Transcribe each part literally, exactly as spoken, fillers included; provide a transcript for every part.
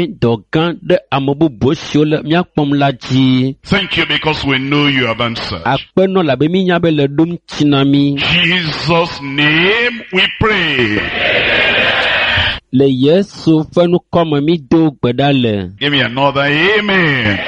Dɔ gã ɖe ame bubu siwo le mía kpɔm la dzi. Thank you because we know you have answered. Akpenɔ labe mínya be le ɖom tsi na mí. Jesus' name we pray. Le Yesu ƒe ŋkɔme mído gbe ɖa le. Give me another amen.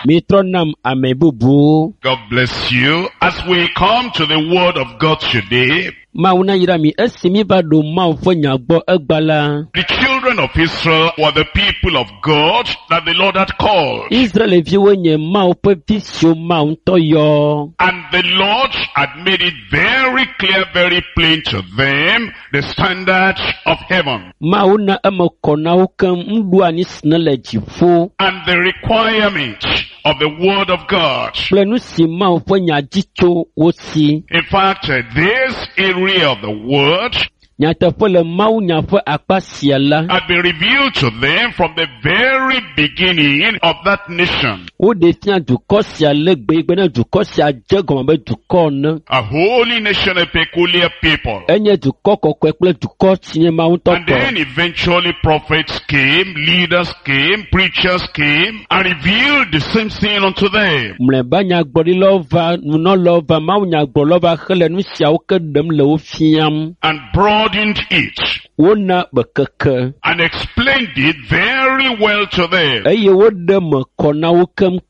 Mitrɔ nam ame bubu. God bless you. As we come to the word of God today, Mawu na yra mi esi míva ɖo Mawu ƒe nya gbɔ egba la. the children of Israel were the people of God that the Lord had called. Israelviwo nye Mawu ƒe vi siwo Mawu ŋutɔ yɔ. And the Lord had made it very clear, very plain to them, the standard of heaven Mawu na eme kɔ na wo keŋ nuɖu anyi si ne le dziƒo and the requirement of the word of God. kple nu si Mawu ƒe nya dzi tso wo si. In fact, uh, this area of the word Nyateƒe le Mawu nya ƒe akpa sia la, had been revealed to them from the very beginning of that nation. woɖe fia dukɔ sia le gbe ne dukɔ sia dze gɔme be dukɔ ene. A holy nation, a peculiar people. Enye dukɔ kɔkɔe kple dukɔ si nye Mawu ŋutɔ And tɔ. then eventually prophets came, leaders came, preachers came, and revealed the same thing unto them. Mlɔeba nyagblɔɖilawo va, nunɔlawo va, Mawu nyagblɔlawo va hele nu siawo ke ɖem le wo fiam. And broadened it Wona bekeke and explained it very well to them. eye woɖe me kɔ na wo keŋkeŋ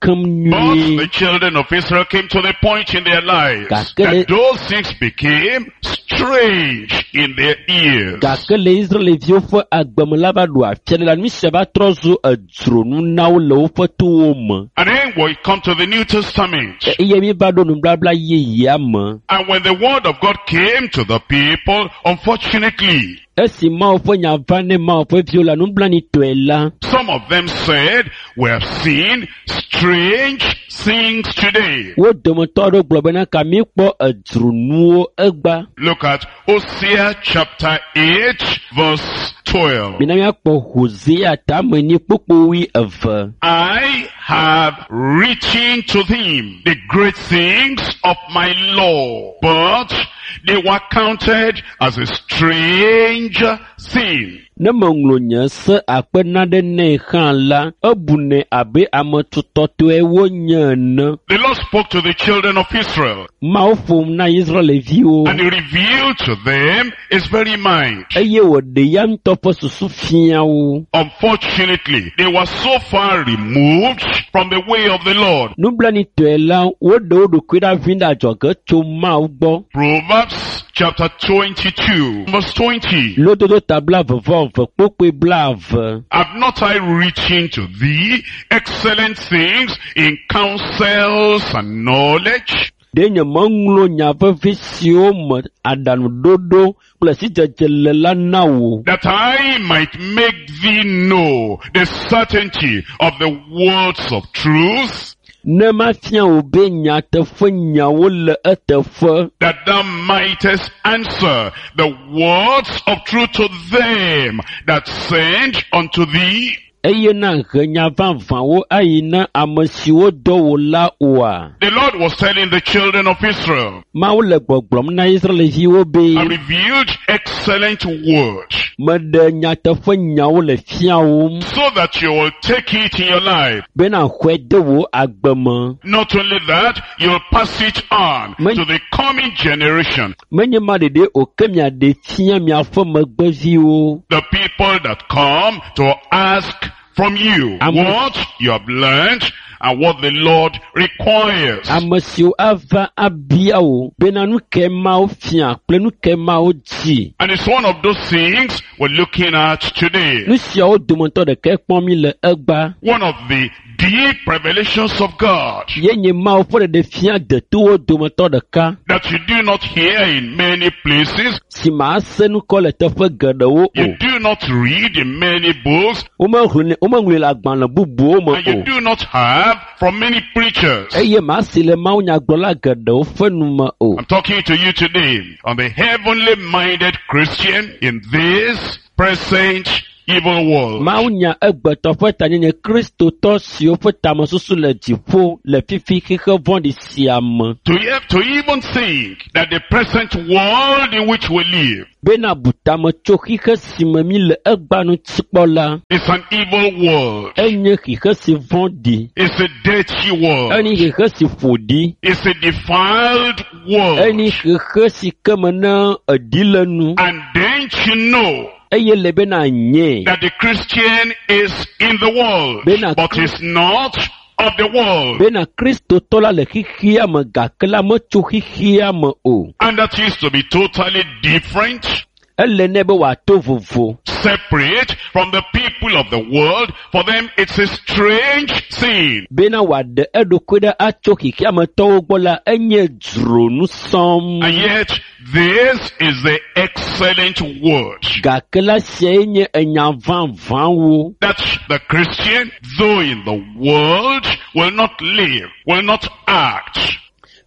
But nyuie. the children of Israel came to the point in their lives Gake that those things became strange in their ears. Gake le Israelviwo ƒe agbeme la va ɖo afia ɖe la, nu sia va trɔ zu edzronu na wo le woƒe towo me. And then we come to the New Testament. Eye míva ɖo nubabla yeyea me. And when the word of God came to the people, unfortunately, Esi Mawu ƒe nya va ne Mawu ƒe viwo la nublanuitɔe la, some of them said, we have seen strange things today. wo dometɔ aɖewo gblɔ bena ka míkpɔ edzronuwo egba. Look at Hosea chapter eight verse twelve. Mina míakpɔ Hosea tame nyi kpukpui eve. I have written to them the great things of my law, but they were counted as a strange thing. Ne meŋlɔ nye se akpe naɖe nɛ hã la, ebunɛ abe ame tutɔtɔe wonye ene. The Lord spoke to the children of Israel Mawu ƒom na Israelviwo and he revealed to them his very mind. eye wòɖe ya ŋutɔ ƒe susu fia wo. Unfortunately, they were so far removed from the way of the Lord. Nublanuitɔe la, woɖe wo ɖokui ɖa vi ɖe adzɔge tso Mawu gbɔ. Proverbs chapter twenty-two, verse twenty. Lododo ta blaeve vɔ eve kpukpui blaeve. Have not I written to thee excellent things in counsels and knowledge? Ɖe nye meŋlɔ nya vevi siwo me aɖaŋuɖoɖo kple sidzedze le la na wò. That I might make thee know the certainty of the words of truth, Ne mafia wò be nyateƒe nyawo le eteƒe. that thou mightest answer the words of truth to them that send unto thee. Eye na he nya vavãwo ayi na ame siwo dɔ wò la oa. The Lord was telling the children of Israel, Mawu le gbɔgblɔm na Israelviwo be I revealed excellent word meɖe nyateƒe nyawo le fiawòm so that you will take it in your life. bena xɔe de wò agbe me. Not only that, you'll pass it on Men- to the coming generation. Menye ma ɖeɖe o ke miaɖe fia miaƒe megbeviwo. The people that come to ask from you Am- what you have learned and what the Lord requires. Ame siwo ava abia wò bena nu ke Mawu fia kple nu ke Mawu dzi. And it's one of those things we're looking at today. Nu siawo dometɔ ɖekae kpɔm mi le egba. One of the deep revelations of God Ye nye Mawu ƒe ɖeɖefia detowo dometɔ ɖeka that you do not hear in many places, si màse nukɔ le teƒe geɖewo o. you do not read in many books, Womeŋlɔe womeŋlɔe le agbalẽ bubuwo me and you o. do not have from many preachers. Eye màse le mawunyagblɔla geɖewo ƒe nu me o. I'm talking to you today on the heavenly minded Christian in this present evil world. Mawunya egbetɔ ƒe tanyenye kristotɔ siwo ƒe tamesusu le dziƒo le fifi xexe vɔ̃ɖi sia me. To, e- to even think that the present world in which we live Bena bu tame tso xixe si me mi le egbea ŋuti kpɔ la, is an evil world. enye xixe si vɔ̃ɖi, It's a dirty world. enye xixe si ƒo ɖi, It's a defiled world. enye xixe si ke me ne eɖi le nu And then you know eye le bena nye that the Christian is in the world, Bena- but is not of the world. bena kristotɔ la le xixia me gake la metso xixia me o. And that is to be totally different, Ele nɛ be wòato vovo. separate from the people of the world. For them, it's a strange thing. Bena wòaɖe eɖokui ɖe atso xixiametɔwo gbɔ la, enye dzronu sɔm. And yet, this is the excellent word. Gake la siae nye enya vavãwo. That the Christian, though in the world, will not live, will not act,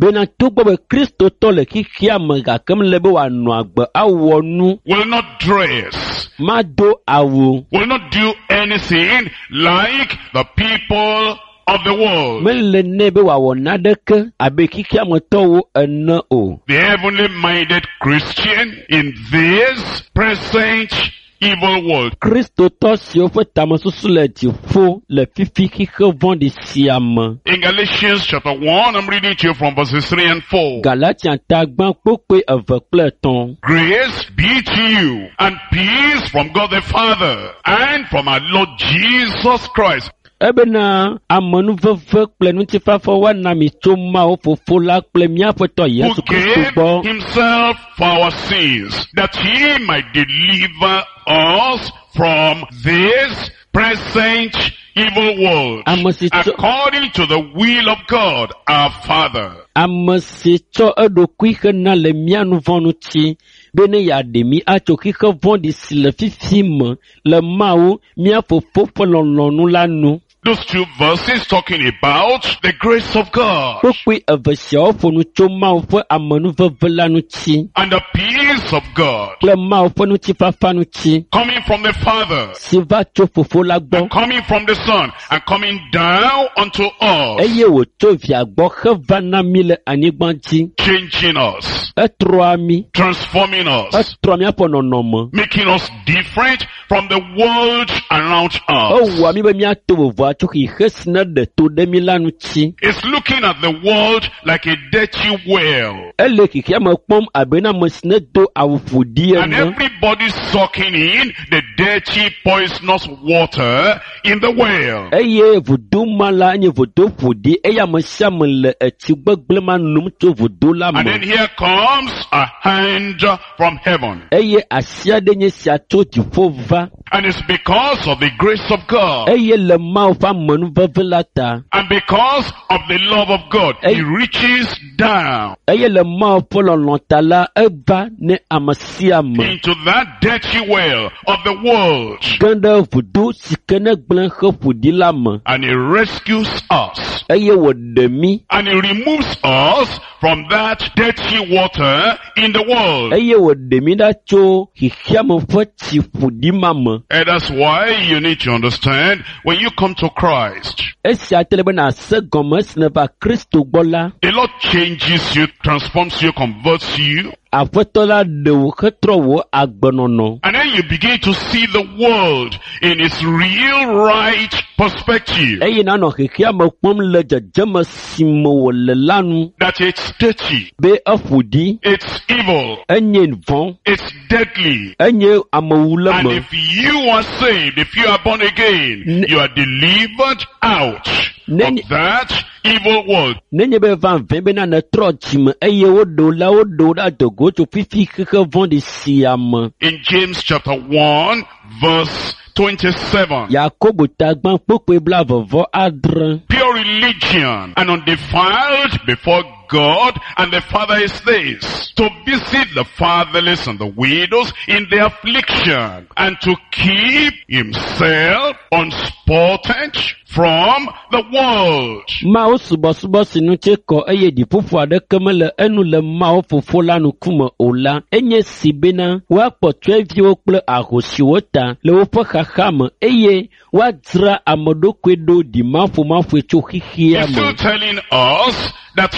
Bena togbɔ be kristotɔ le xixia me gake mele be wòanɔ agbe awɔ nu, will not dress, mado awu, will not do anything like the people of the world. mele nɛ be wòawɔ naneke abe xixiametɔwo ene o. The heavenly minded Christian in this present evil world Kristotɔ siwo ƒe tamesusu le dziƒo le fifi xixe vɔ̃ɖi sia me. In Galatians chapter one, I'm reading to you from verses three and four. Galatia ta gbã kpokpoe eve kple etɔ̃. Grace be to you and peace from God the Father and from our Lord Jesus Christ. Ebena amenuveve kple ŋutifafa woana mi tso Mawu Fofo la kple mía Aƒetɔ Who Yesu Kristo gave gbɔ, himself for our sins, that he might deliver us from this present evil world, Ame si tso- according to the will of God our Father. ame si tsɔ eɖokui hena le mía nu vɔ̃ ŋuti, bene yeaɖe mí atso xixe vɔ̃ɖi si le fifi me le Mawu mía Fofo ƒe lɔlɔ̃nu la nu. Those two verses talking about the grace of God Kpokpoe eve siawo ƒo nu tso Mawu ƒe amenuveve la ŋuti and the peace of God kple Mawu ƒe ŋutifafa ŋuti coming from the Father si va tso Fofo la gbɔ and coming from the Son and coming down unto us, eye wòtso via gbɔ heva na mí le anyigba dzi. changing us, Etrɔa mí, transforming us, etrɔ míaƒe nɔnɔme. making us different from the world around us. Ewɔa mí be míato vovo atso xixe si ne ɖe to ɖe mí la ŋuti. It's looking at the world like a dirty well. Ele xexea me kpɔm abe na ame si ne do awu ƒoɖi And ene everybody's sucking in the dirty, poisonous water in the well. eye vudo ma la nye vudo ƒoɖi eye ame sia ame le etsi gbegblẽ ma nom tso vudo la And then me. here comes a hand from heaven. Eye asi aɖe nye sia tso dziƒo va And it's because of the grace of God. eye le Mawu ƒe amenuveve la ta And because of the love of God, Hey. He reaches down eye le Mawu ƒe lɔlɔ̃ ta la eva ne ame sia ame into that dirty well of the world. ge ɖe vudo si ke ne gblẽ he ƒoɖi la me And He rescues us. eye wòɖe mí And He removes us from that dirty water in the world. eye wòɖe mí ɖa tso xexeame ƒe tsi ƒoɖi ma me. And that's why you need to understand when you come to Christ, Esia te le be nàse gɔme esi nèva Kristo gbɔ la, the Lord changes you, transforms you, converts you, Aƒetɔ la ɖe wò hetrɔ wò agbenɔnɔ and then you begin to see the world in its real right perspective. eye nànɔ xexeame kpɔm le dzedzeme si me wòle la nu That it's dirty, be eƒo ɖi, it's evil, enye vɔ̃, it's deadly. enye amewule And me. if you are saved, if you are born again, Ne- you are delivered out Ne- of that evil world. Nenye be va vɛ bena nètrɔ dzime eye woɖe wò la, woɖe wò ɖe adogo tso fifi xexe vɔ̃ɖi sia me. In James chapter one, verse twenty-seven. Yakobo ta gbã kpokpoe blaeve vɔ adre. Pure religion and undefiled before God and the Father is this, to visit the fatherless and the widows in their affliction and to keep himself unspotted from the world. Mawu subɔsubɔ si ŋuti kɔ eye ɖiƒoƒo aɖeke mele enu le Mawu fofo la ŋkume o la, enye si bena woakpɔ tsyɔ̃eviwo kple ahosiwo ta le woƒe xaxa me eye woadzra ame ɖokui ɖo ɖimaƒomaƒoe tso xexea He's still me. telling us that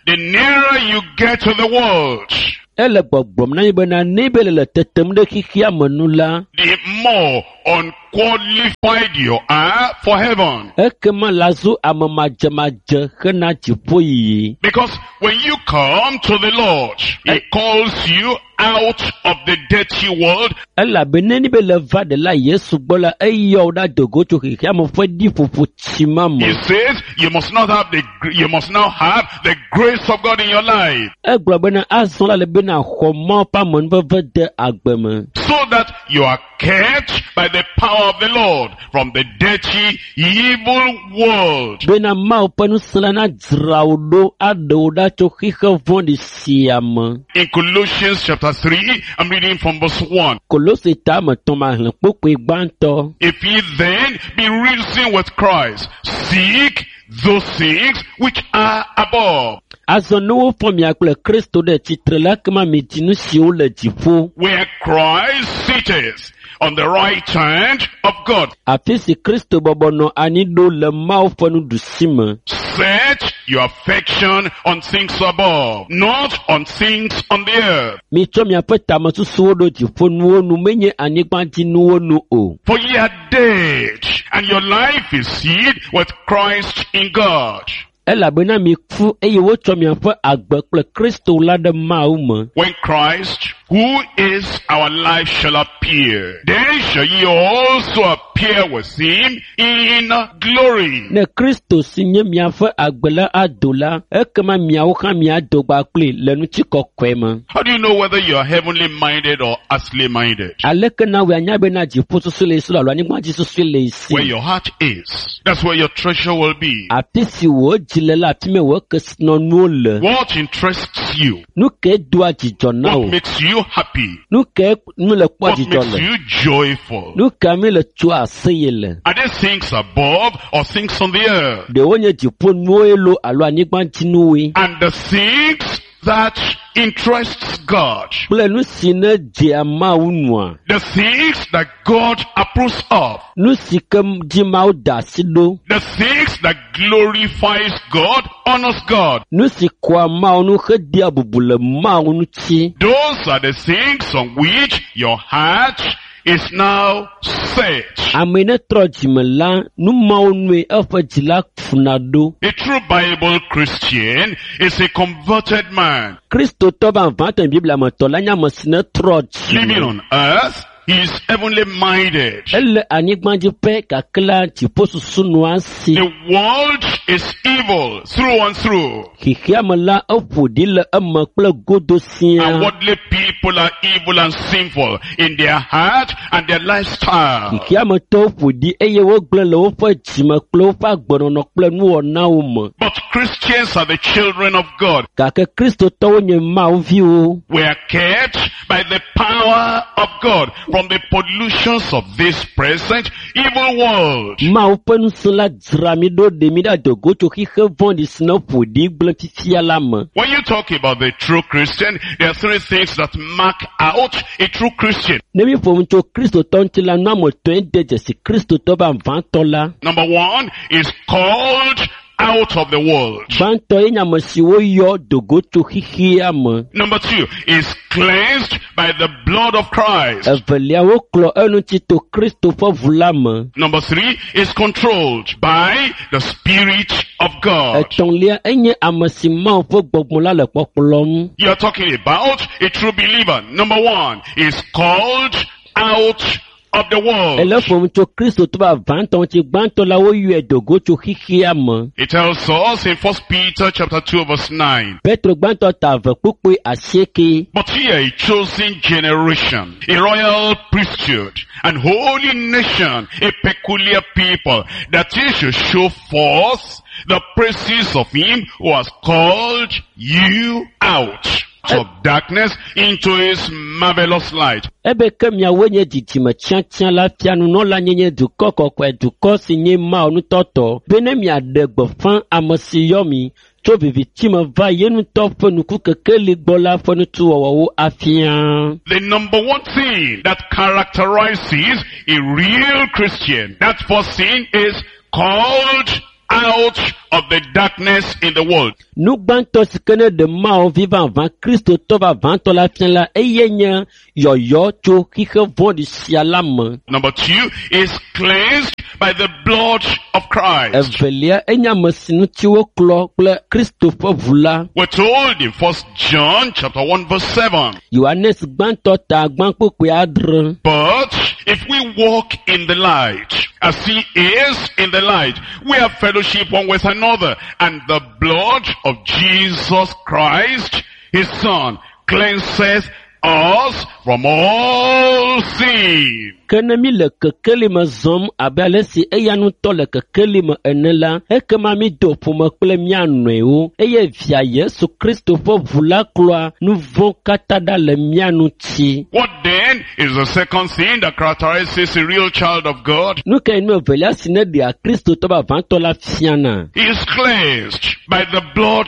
the nearer you get to the world, Ele gbɔgblɔm na mi bena ne be le le tetem ɖe xexea me nu la, the more unqualified you are for heaven. ekema la zu ame madzemadze hena dziƒoyiyi. Because when you come to the Lord, He calls you out of the dirty world Elabena ne be le va ɖela Yesu gbɔ la, eyɔ wo ɖa do go tso xexea me ƒe ɖiƒoƒo tsi ma me. He says you must not have the you must now have the grace of God in your life Egblɔ bena azɔ la le bena xɔ Mawu ƒe amenuveve de agbe me. so that you are kept by the power of the Lord from the dirty evil world. Bena Mawu ƒe ŋusẽ la nadzra wò ɖo aɖe wò ɖa tso xixe vɔ̃ɖi sia me. In Colossians chapter three, I'm reading from verse one. Kolose ta ame etɔ̃ ma xlẽ kpukpui gbãtɔ. If ye then be risen with Christ, seek those things which are above, Azɔ ne wofɔ mia kple Kristo ɖe tsitre la, ekema midi nu siwo le dziƒo. where Christ sitteth on the right hand of God. Afi si Kristo bɔbɔ nɔ anyi ɖo le Mawu ƒe nuɖusi me. Set your affection on things above, not on things on the earth. Mitsɔ miaƒe tamesusuwo ɖo dziƒonuwo nu, menye anyigbadzinuwo nu o. For ye are dead, and your life is hid with Christ in God. Elabena miku eye wotsɔ miaƒe agbe kple Kristo la ɖe Mawu me. When Christ, who is our life, shall appear, then shall ye also appear with him in glory. Ne Kristo si nye miaƒe agbe la ado la, ekema miawo hã miado gba kpli le ŋutikɔkɔe me. How do you know whether you are heavenly minded or earthly minded? Aleke na wòe anya bena dziƒosusu le esi alo anyigbadzisusu le esi? Where your heart is, that's where your treasure will be. Afi si wò dzi le la, afi mae wò kesinɔnuwo le. What interests you? Nu kae doa dzidzɔ na What wò? makes you happy? Nu kae nu le kpɔa What dzidzɔ makes le? you joyful? Nu ka mi le tsoa aseye le? Are they things above or things on the earth? Ɖewo nye dziƒonuwoe loo alo anyigbadzinuwoe? And the things that interests God. Kple nu si ne dzea Mawu nua? The things that God approves of. Nu si ke dzi Mawu da asi ɖo. The things that glorifies God, honors God. Nu si kɔa Mawu nu hedea bubu le Mawu ŋuti. Those are the things on which your heart is now set. Ame yi ne trɔ dzime la, nu mawo nue eƒe dzi la funa ɖo. A true Bible Christian is a converted man. Kristotɔ vavãtɔ yi Biblia me tɔ la nye ame si ne trɔ Living dzime. on earth, he is heavenly minded. Ele anyigba dzi pɛ gake la dziƒosusu nɔa esi. The world is evil through and through. Xexea me la eƒo ɖi le eme kple godo And siaa. worldly people are evil and sinful in their heart and their lifestyle. Xexea me tɔwo ƒo ɖi eye wogblẽ le woƒe dzime kple woƒe agbenɔnɔ kple nuwɔnawo me. But Christians are the children of God. Gake Kristotɔwo nye Mawu viwo. We are kept by the power of God from the pollutions of this present evil world. Mawu ƒe ŋusẽ la dzra mi ɖo ɖe mi ɖe adogo tso xixe vɔ̃ɖi si ne ƒo ɖi gblẽ fifia la me. When you talk about the true Christian, there are three things that mark out a true Christian. Ne mi ƒo nu tso Kristotɔ ŋuti la, nu ame etɔ̃e de dzesi Kristotɔ vavãtɔ la. Number one is called out of the world. Gbãtɔ ye nye ame si woyɔ dogo tso xexea me. Number two is cleansed by the blood of Christ. Evelia woklɔ eŋuti to Kristo ƒe ʋu la me. Number three is controlled by the Spirit of God. Etɔ̃lia enye ame si Mawu ƒe gbɔgbɔ la le kpɔkplɔm. You are talking about a true believer. Number one is called out of the world. Ele ƒom tso Kristotɔ vavãtɔ ŋuti. Gbãtɔ la woyɔe dogo tso xexea me. It tells us in First Peter chapter two verse nine. Petro gbãtɔ ta eve kpukpui asieke. But ye are a chosen generation, a royal priesthood, an holy nation, a peculiar people, that ye should show forth the praises of him who has called you out of darkness into his marvelous light. Ebe ke miawoe nye dzidzime tsiatsiã la fia nunɔla nyenye dukɔ kɔkɔe dukɔ si nye Mawu ŋutɔtɔ be ne miaɖe gbeƒã ame si yɔ mi tso viviti me va ye ŋutɔ ƒe nukukekeli gbɔ la ƒe nutuwɔwɔwo afia. The number one thing that characterizes a real Christian, that first thing is called out of the darkness in the world. Nu gbãtɔ si ke ne ɖe Mawu vi vavã Kristotɔ vavãtɔ la fia la eye nye yɔyɔ tso xixe vɔ̃ɖi sia la me. Number two is cleansed by the blood of Christ. Evelia enye ame si ŋuti woklɔ kple Kristo ƒe ʋu la. We're told in First John chapter one verse seven. Yohanes gbãtɔ ta gbãkpokpui adre. But if we walk in the light, as he is in the light, we have fellowship one with another, and the blood of Jesus Christ, his son, cleanses us from all sin. Ke ne mi le kekeli me zɔm abe ale si eya ŋutɔ le kekeli me ene la, ekema mi do ƒome kple mía nɔewo eye via Yesu Kristo ƒe ʋu la klɔa nu vɔ̃ katã ɖa le mía ŋuti. What then is the second thing that characterizes a real child of God? Nu kae nu evelia si ne ɖea Kristotɔ vavãtɔ la fiana? He is cleansed by the blood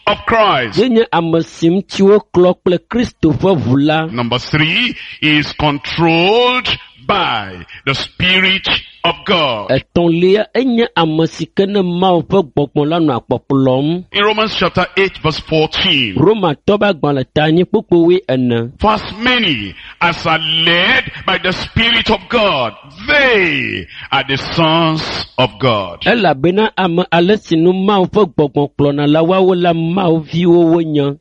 of Christ. Ye nye ame si ŋuti woklɔ kple Kristo ƒe ʋu la. Number three he is controlled by the Spirit of God. Etɔ̃lia enye ame si ke ne Mawu ƒe gbɔgbɔ la nɔa kpɔkplɔm. In Romans chapter eight verse fourteen. Romatɔ ƒe agbalẽ ta anyi kpukpui ene. For as many as are led by the Spirit of God, they are the sons of God. Elabena ame ale si nu Mawu ƒe gbɔgbɔ kplɔna la woawo la Mawu viwo wonye.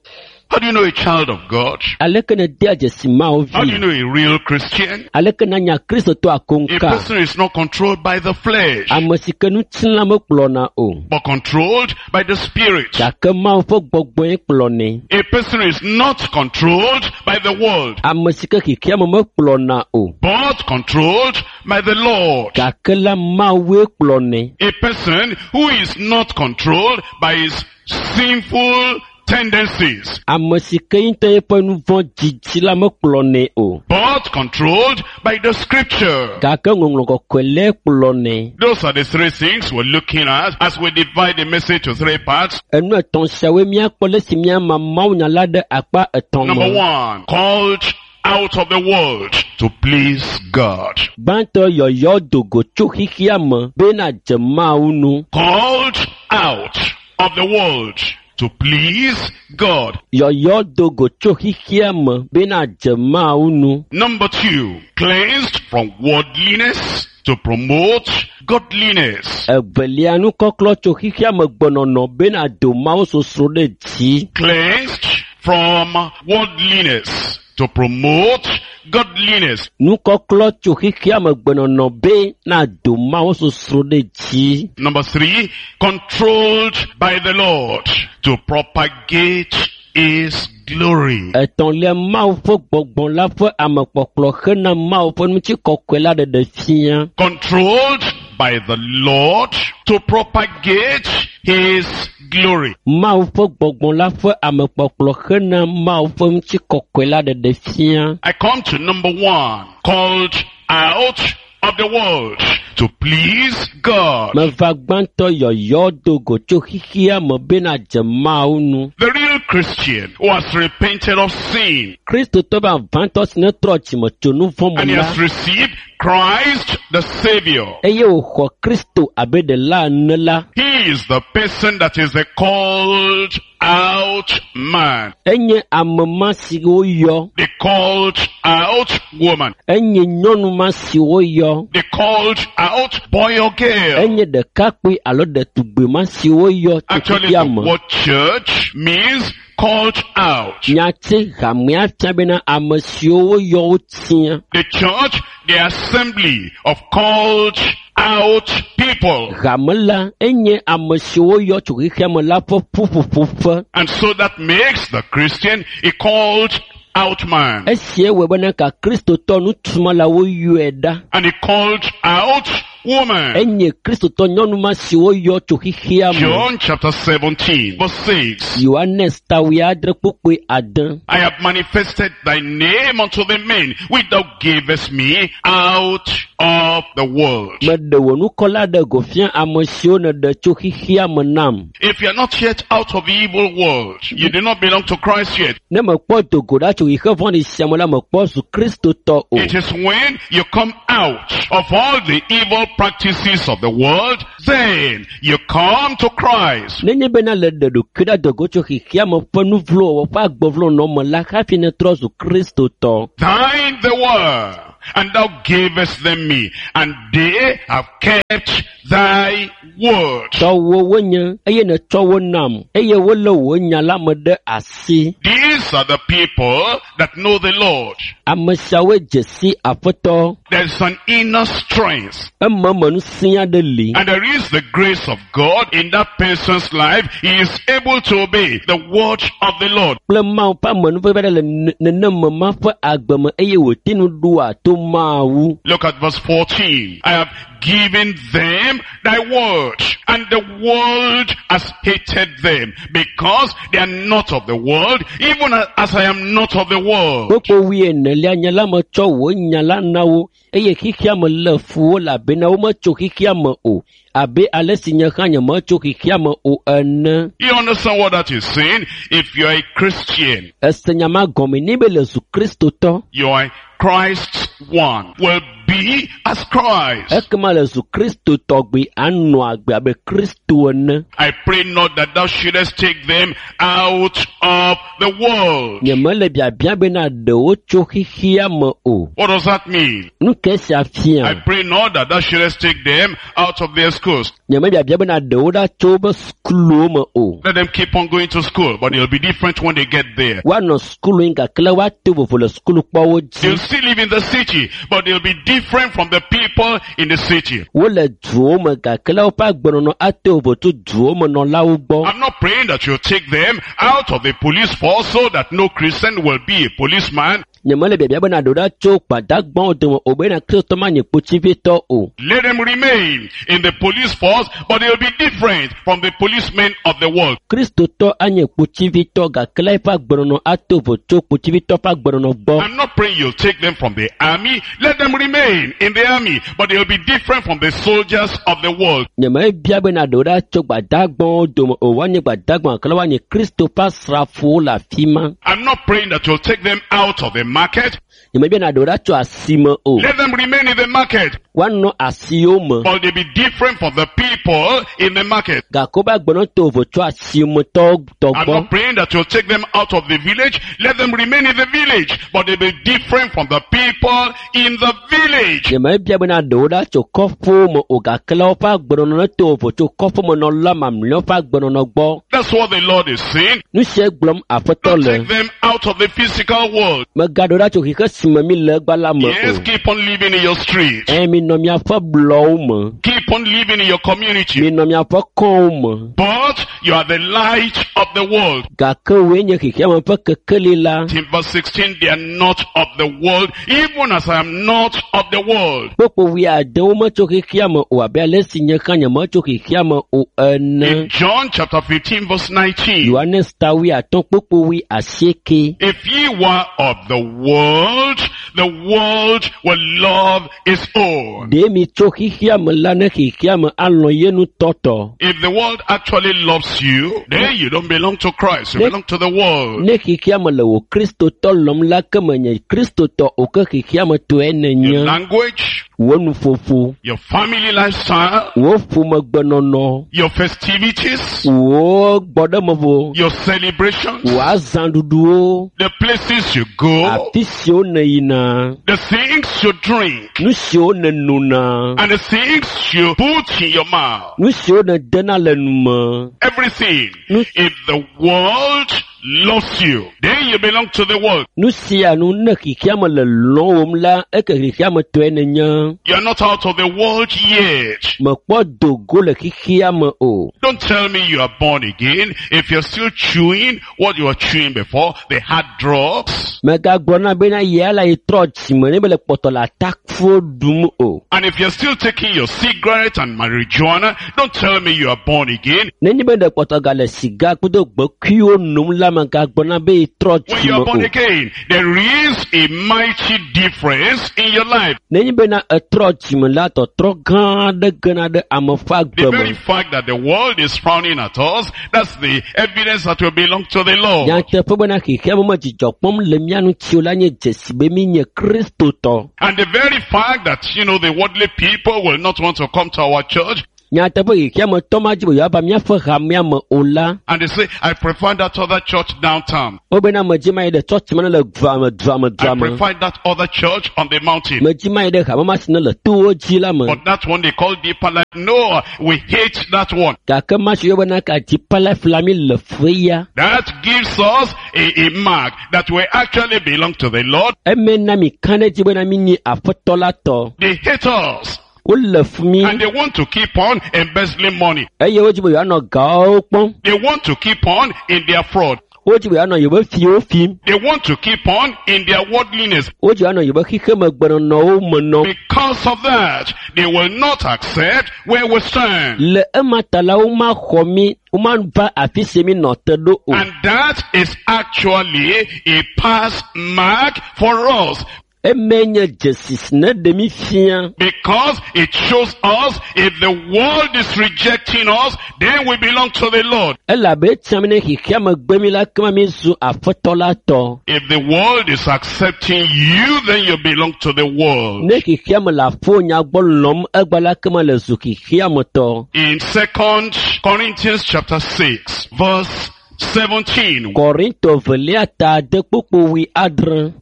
How do you know a child of God? Aleke nèdea dzesi Mawu How do you vi? know a real Christian? Aleke nanya Kristotɔ A akoŋka? person is not controlled by the flesh, Ame si ke ŋutilã mekplɔna o. but controlled by the Spirit. Gake Mawu ƒe gbɔgbɔe kplɔnɛ. A person is not controlled by the world, Ame si ke xexeame mekplɔna o. but controlled by the Lord. Gake la Mawue kplɔnɛ. A person who is not controlled by his sinful tendencies, Ame si ke ŋutɔ eƒe nu vɔ̃ dzidzi la mekplɔnɛ o. but controlled by the scripture. Gake ŋɔŋlɔ kɔkɔe lae kplɔnɛ. Those are the three things we're looking at as we divide the message to three parts. Enu etɔ̃ siawoe míakpɔ le si míama mawunya la ɖe akpa etɔ̃ Number me. one, called out of the world to please God. Gbãtɔ yɔyɔ do go tso xexea me be nadze Mawu nu. Called out of the world to please God. Yɔyɔ do go tso xexea me be nadze Mawu nu. Number two, cleansed from worldliness to promote godliness. Evelia nukɔklɔ tso xexea me gbenɔnɔ be nado Mawu sosro ɖe dzi. Cleansed from worldliness to promote godliness. Nukɔklɔ tso xexea me gbenɔnɔ be nado Mawu sosro ɖe dzi. Number three, controlled by the Lord to propagate his glory. Etɔ̃lia Mawu ƒe gbɔgbɔ la ƒe amekpɔkplɔ hena Mawu ƒe ŋutikɔkɔe la ɖeɖe fia. Controlled by the Lord to propagate his glory. Mawu ƒe gbɔgbɔ la ƒe amekpɔkplɔ hena Mawu ƒe ŋutikɔkɔe la ɖeɖe fia. I come to number one, called out of the world to please God. Meva gbãtɔ yɔyɔ do go tso xexea me be nadze Mawu nu. The real Christian who has repented of sin Kristotɔ vavãtɔ si ne trɔ dzime tso nu vɔ̃ and me he la, has received Christ the Savior. eye wòxɔ Kristo abe ɖela ene la, He is the person that is the called out man, enye ame ma si woyɔ, the called out woman, enye nyɔnu ma si woyɔ, the called out boy or girl. enye ɖekakpui alo ɖetugbi ma si woyɔ tso Actually, xexea the me. word church means called out. Nyati hamea fia bena ame siwo woyɔ wotia. The church, the assembly of called out people. Hame la enye ame siwo woyɔ tso xexea me la ƒe ƒuƒoƒoƒe. And so that makes the Christian a called out man Esia wɔe bena ka Kristotɔ nutumala woyɔe ɖa and a called out woman. Enye kristotɔ nyɔnu ma si woyɔ tso xexea me. John chapter seventeen, verse six. Yohanes ta wuiadre kpukpui ade. I have manifested thy name unto the men which thou gavest me out of the world. Meɖe wò ŋkɔ la ɖe go fia ame siwo nèɖe tso xexea me nam. If you are not yet out of the evil world, you do not belong to Christ yet. Ne mekpɔ do go ɖa tso xexe vɔ̃ɖi sia me la, mekpɔ zu kristotɔ o. It is when you come out of all the evil practices of the world, then you come to Christ. Nenye bena le ɖe ɖokui ɖa do go tso xexea me ƒe nu vlo wɔwɔ ƒe agbevlonɔ me la hafi netrɔ zu kristotɔ. Thine they were, and thou gavest them me, and they have kept thy word. Tɔwò wonye eye nètsɔ wo nam eye wolé wò nya la me ɖe asi. These are the people that know the Lord. Ame siawoe dze si Aƒetɔ. There's an inner strength. Ememe ŋusẽ aɖe li. And there is the grace of God in that person's life. He is able to obey the word of the Lord. Kple Mawu ƒe amenuveve aɖe le nenema ma ƒe agbe me eye wòte ŋu ɖoa to Mawu. Look at verse fourteen. I have given them thy word, and the world has hated them, because they are not of the world, even as I am not of the world. Kpukpui wuienelia nye la metsɔ wò nya la na wo eye xexea me lé fu wo elabena wometso xexea me o abe ale si nye hã nyemetso xexea me o ene. You understand what that is saying? If you are a Christian, Ese nya ma gɔme ni be le zu kristotɔ. you are Christ's one, will be as Christ. Ekema le zu Kristo tɔgbi anɔ agbe abe Kristo ene. I pray not that thou shouldest take them out of the world. Nyemele biabia bena ɖewo tso xexea me o. What does that mean? Nu ke sia fia? I pray not that thou shouldest take them out of their schools. Nyeme biabia bena ɖewo ɖa tso woƒe sukuluwo me o. Let them keep on going to school, but they'll be different when they get there. Woanɔ sukulu yi gake le woato vovo le sukulukpɔwo dzi. They'll still live in the city, but they'll be different from the people in the city. Wole duwo me gake le woƒe agbenɔnɔ ato vovo tso duwo me nɔlawo gbɔ. I'm not praying that you'll take them out of the police force so that no Christian will be a policeman. Nyemele biabia bena ɖewo ɖa tso gbadagbawo dome o bena kristotɔ manye kpotsivitɔ o. Let them remain in the police force, but they'll be different from the policemen of the world. Kristotɔ anye kpotsivitɔ gake le eƒe agbenɔnɔ ato vovo tso kpotsivitɔ ƒe agbenɔnɔ gbɔ. I'm not praying you'll take them from the army. Let them remain in the army, but they'll be different from the soldiers of the world. Nyemebia bena ɖewo ɖa tso gbadagbawo dome o woanye gbadagba gake le woanye Kristo ƒe asrafowo le afi ma. I'm not praying that you'll take them out of the market. Nyemebia na ɖewo ɖa tso asime o. Let them remain in the market, Woanɔ asiwo me. but they'll be different from the people in the market. Gake woƒe agbenɔnɔ to vovo tso asimetɔwo tɔ I'm gbɔ. not praying that you'll take them out of the village. Let them remain in the village, but they'll be different from the people in the village. Nyemebia bena ɖewo ɖa tso kɔƒewo me o gake le woƒe agbenɔnɔ to vovo tso kɔƒemenɔla mamlɛawo ƒe agbenɔnɔ gbɔ. That's what the Lord is saying. Nu sia gblɔm Aƒetɔ Don't le. take them out of the physical world. Megaɖo ɖa tso xexe si me mi le egbea la me Yes, o. keep on living in your street. Eye minɔ miaƒe blɔwo me. Keep on living in your community. Minɔ miaƒe kɔwo me. But you are the light of the world. Gake woe nye xexeame ƒe kekeli la. In verse sixteen, they are not of the world, even as I am not of the world. Kpukpui wuiade wometso xexeame o abe ale si nye hã nyemetso xexeame o ene. In John chapter fifteen, verse nineteen, Yohanes ta wuiatɔ̃ kpukpui wuiasieke. if ye were of the world, the world will love its own. Ɖe mi tso xexeame la ne xexeame alɔ̃ ye ŋutɔ tɔ. If the world actually loves you, then you don't belong to Christ, you belong to the world. Ne xexeame le wò kristotɔ lɔ̃m la ke menye kristotɔ o ke xexeame tɔe nenye. Your language, Wò nuƒoƒo, your family lifestyle, wò ƒomegbenɔnɔ, your festivities, wò gbɔɖemevo, your celebrations, wò azãɖuɖuwo, the places you go, afi siwo nèyina, the things you drink, nu siwo nènona, and the things you put in your mouth. nu siwo nèdena le nu me. Everything. Nu If the world loves you, then you belong to the world. Nu sia nu ne xexea me le lɔ̃wòm la, eke xexea me tɔe nenye. You are not out of the world yet. Mekpɔ do go le xexea me o. Don't tell me you are born again if you're still chewing what you were chewing before, the hard drugs. Megagblɔ na bena yia la yi trɔ dzime ne mele kpɔtɔ le atakuwo ɖum o. And if you're still taking your cigarette and marijuana, don't tell me you are born again. Nenye be ɖe kpɔtɔ gale siga kple gbekuiwo nom la, megagblɔ na be yi trɔ When you are dzime born o. again, there is a mighty difference in your life. Nenye bena etrɔ dzime la, tɔtrɔ gã aɖe gena ɖe ame ƒe The agbe very me. fact that the world is frowning at us, that's the evidence that we belong to the Lord. Nyateƒe bena xexea me me dzidzɔ kpɔm le mía ŋuti o la nye dzesi be mi nye Kristotɔ. And the very fact that, you know, the worldly people will not want to come to our church, Nyateƒe xexea me tɔ ma dzi be yewoava míaƒe hamea me o la, and they say, I prefer that other church downtown. wobena medzi ma yi ɖe tsɔtsi ma ne le dua me, dua me, I dua me. prefer that other church on the mountain. Medzi ma yi ɖe hame ma si ne le towo dzi la me. But that one they call deeper life. No, we hate that one. Gake ma si yɔ bena ka Deeper Life la mi le fe ya. That gives us a, a mark that we actually belong to the Lord. Eme na mi ka ɖe edzi bena mi nye aƒetɔ la tɔ. They hate us. Wole fu mi And they want to keep on embezzling money. eye wodzi be yewoanɔ gawo kpɔm. They want to keep on in their fraud. Wodzi be yewoanɔ yewoƒe fiwo fim. They want to keep on in their worldliness. Wodzi yewoanɔ yewoƒe xexemegbenɔnɔwo me nɔm. Because of that, they will not accept where we stand. Le ema ta la, womaxɔ mi, womava afi si mi nɔ te ɖo o. And that is actually a pass mark for us Eme nye dzesi si ne ɖe mi fia. because it shows us if the world is rejecting us, then we belong to the Lord. Elabe etia mi ne xexea me gbe mi la, kema mi zu aƒetɔ la tɔ. If the world is accepting you, then you belong to the world. Ne xexea me le aƒo nya gbɔ lɔm egba la, kema le zu xexea me tɔ. In Second Corinthians chapter six, verse seventeen, Korinto velia ta ade kpukpu wui adre.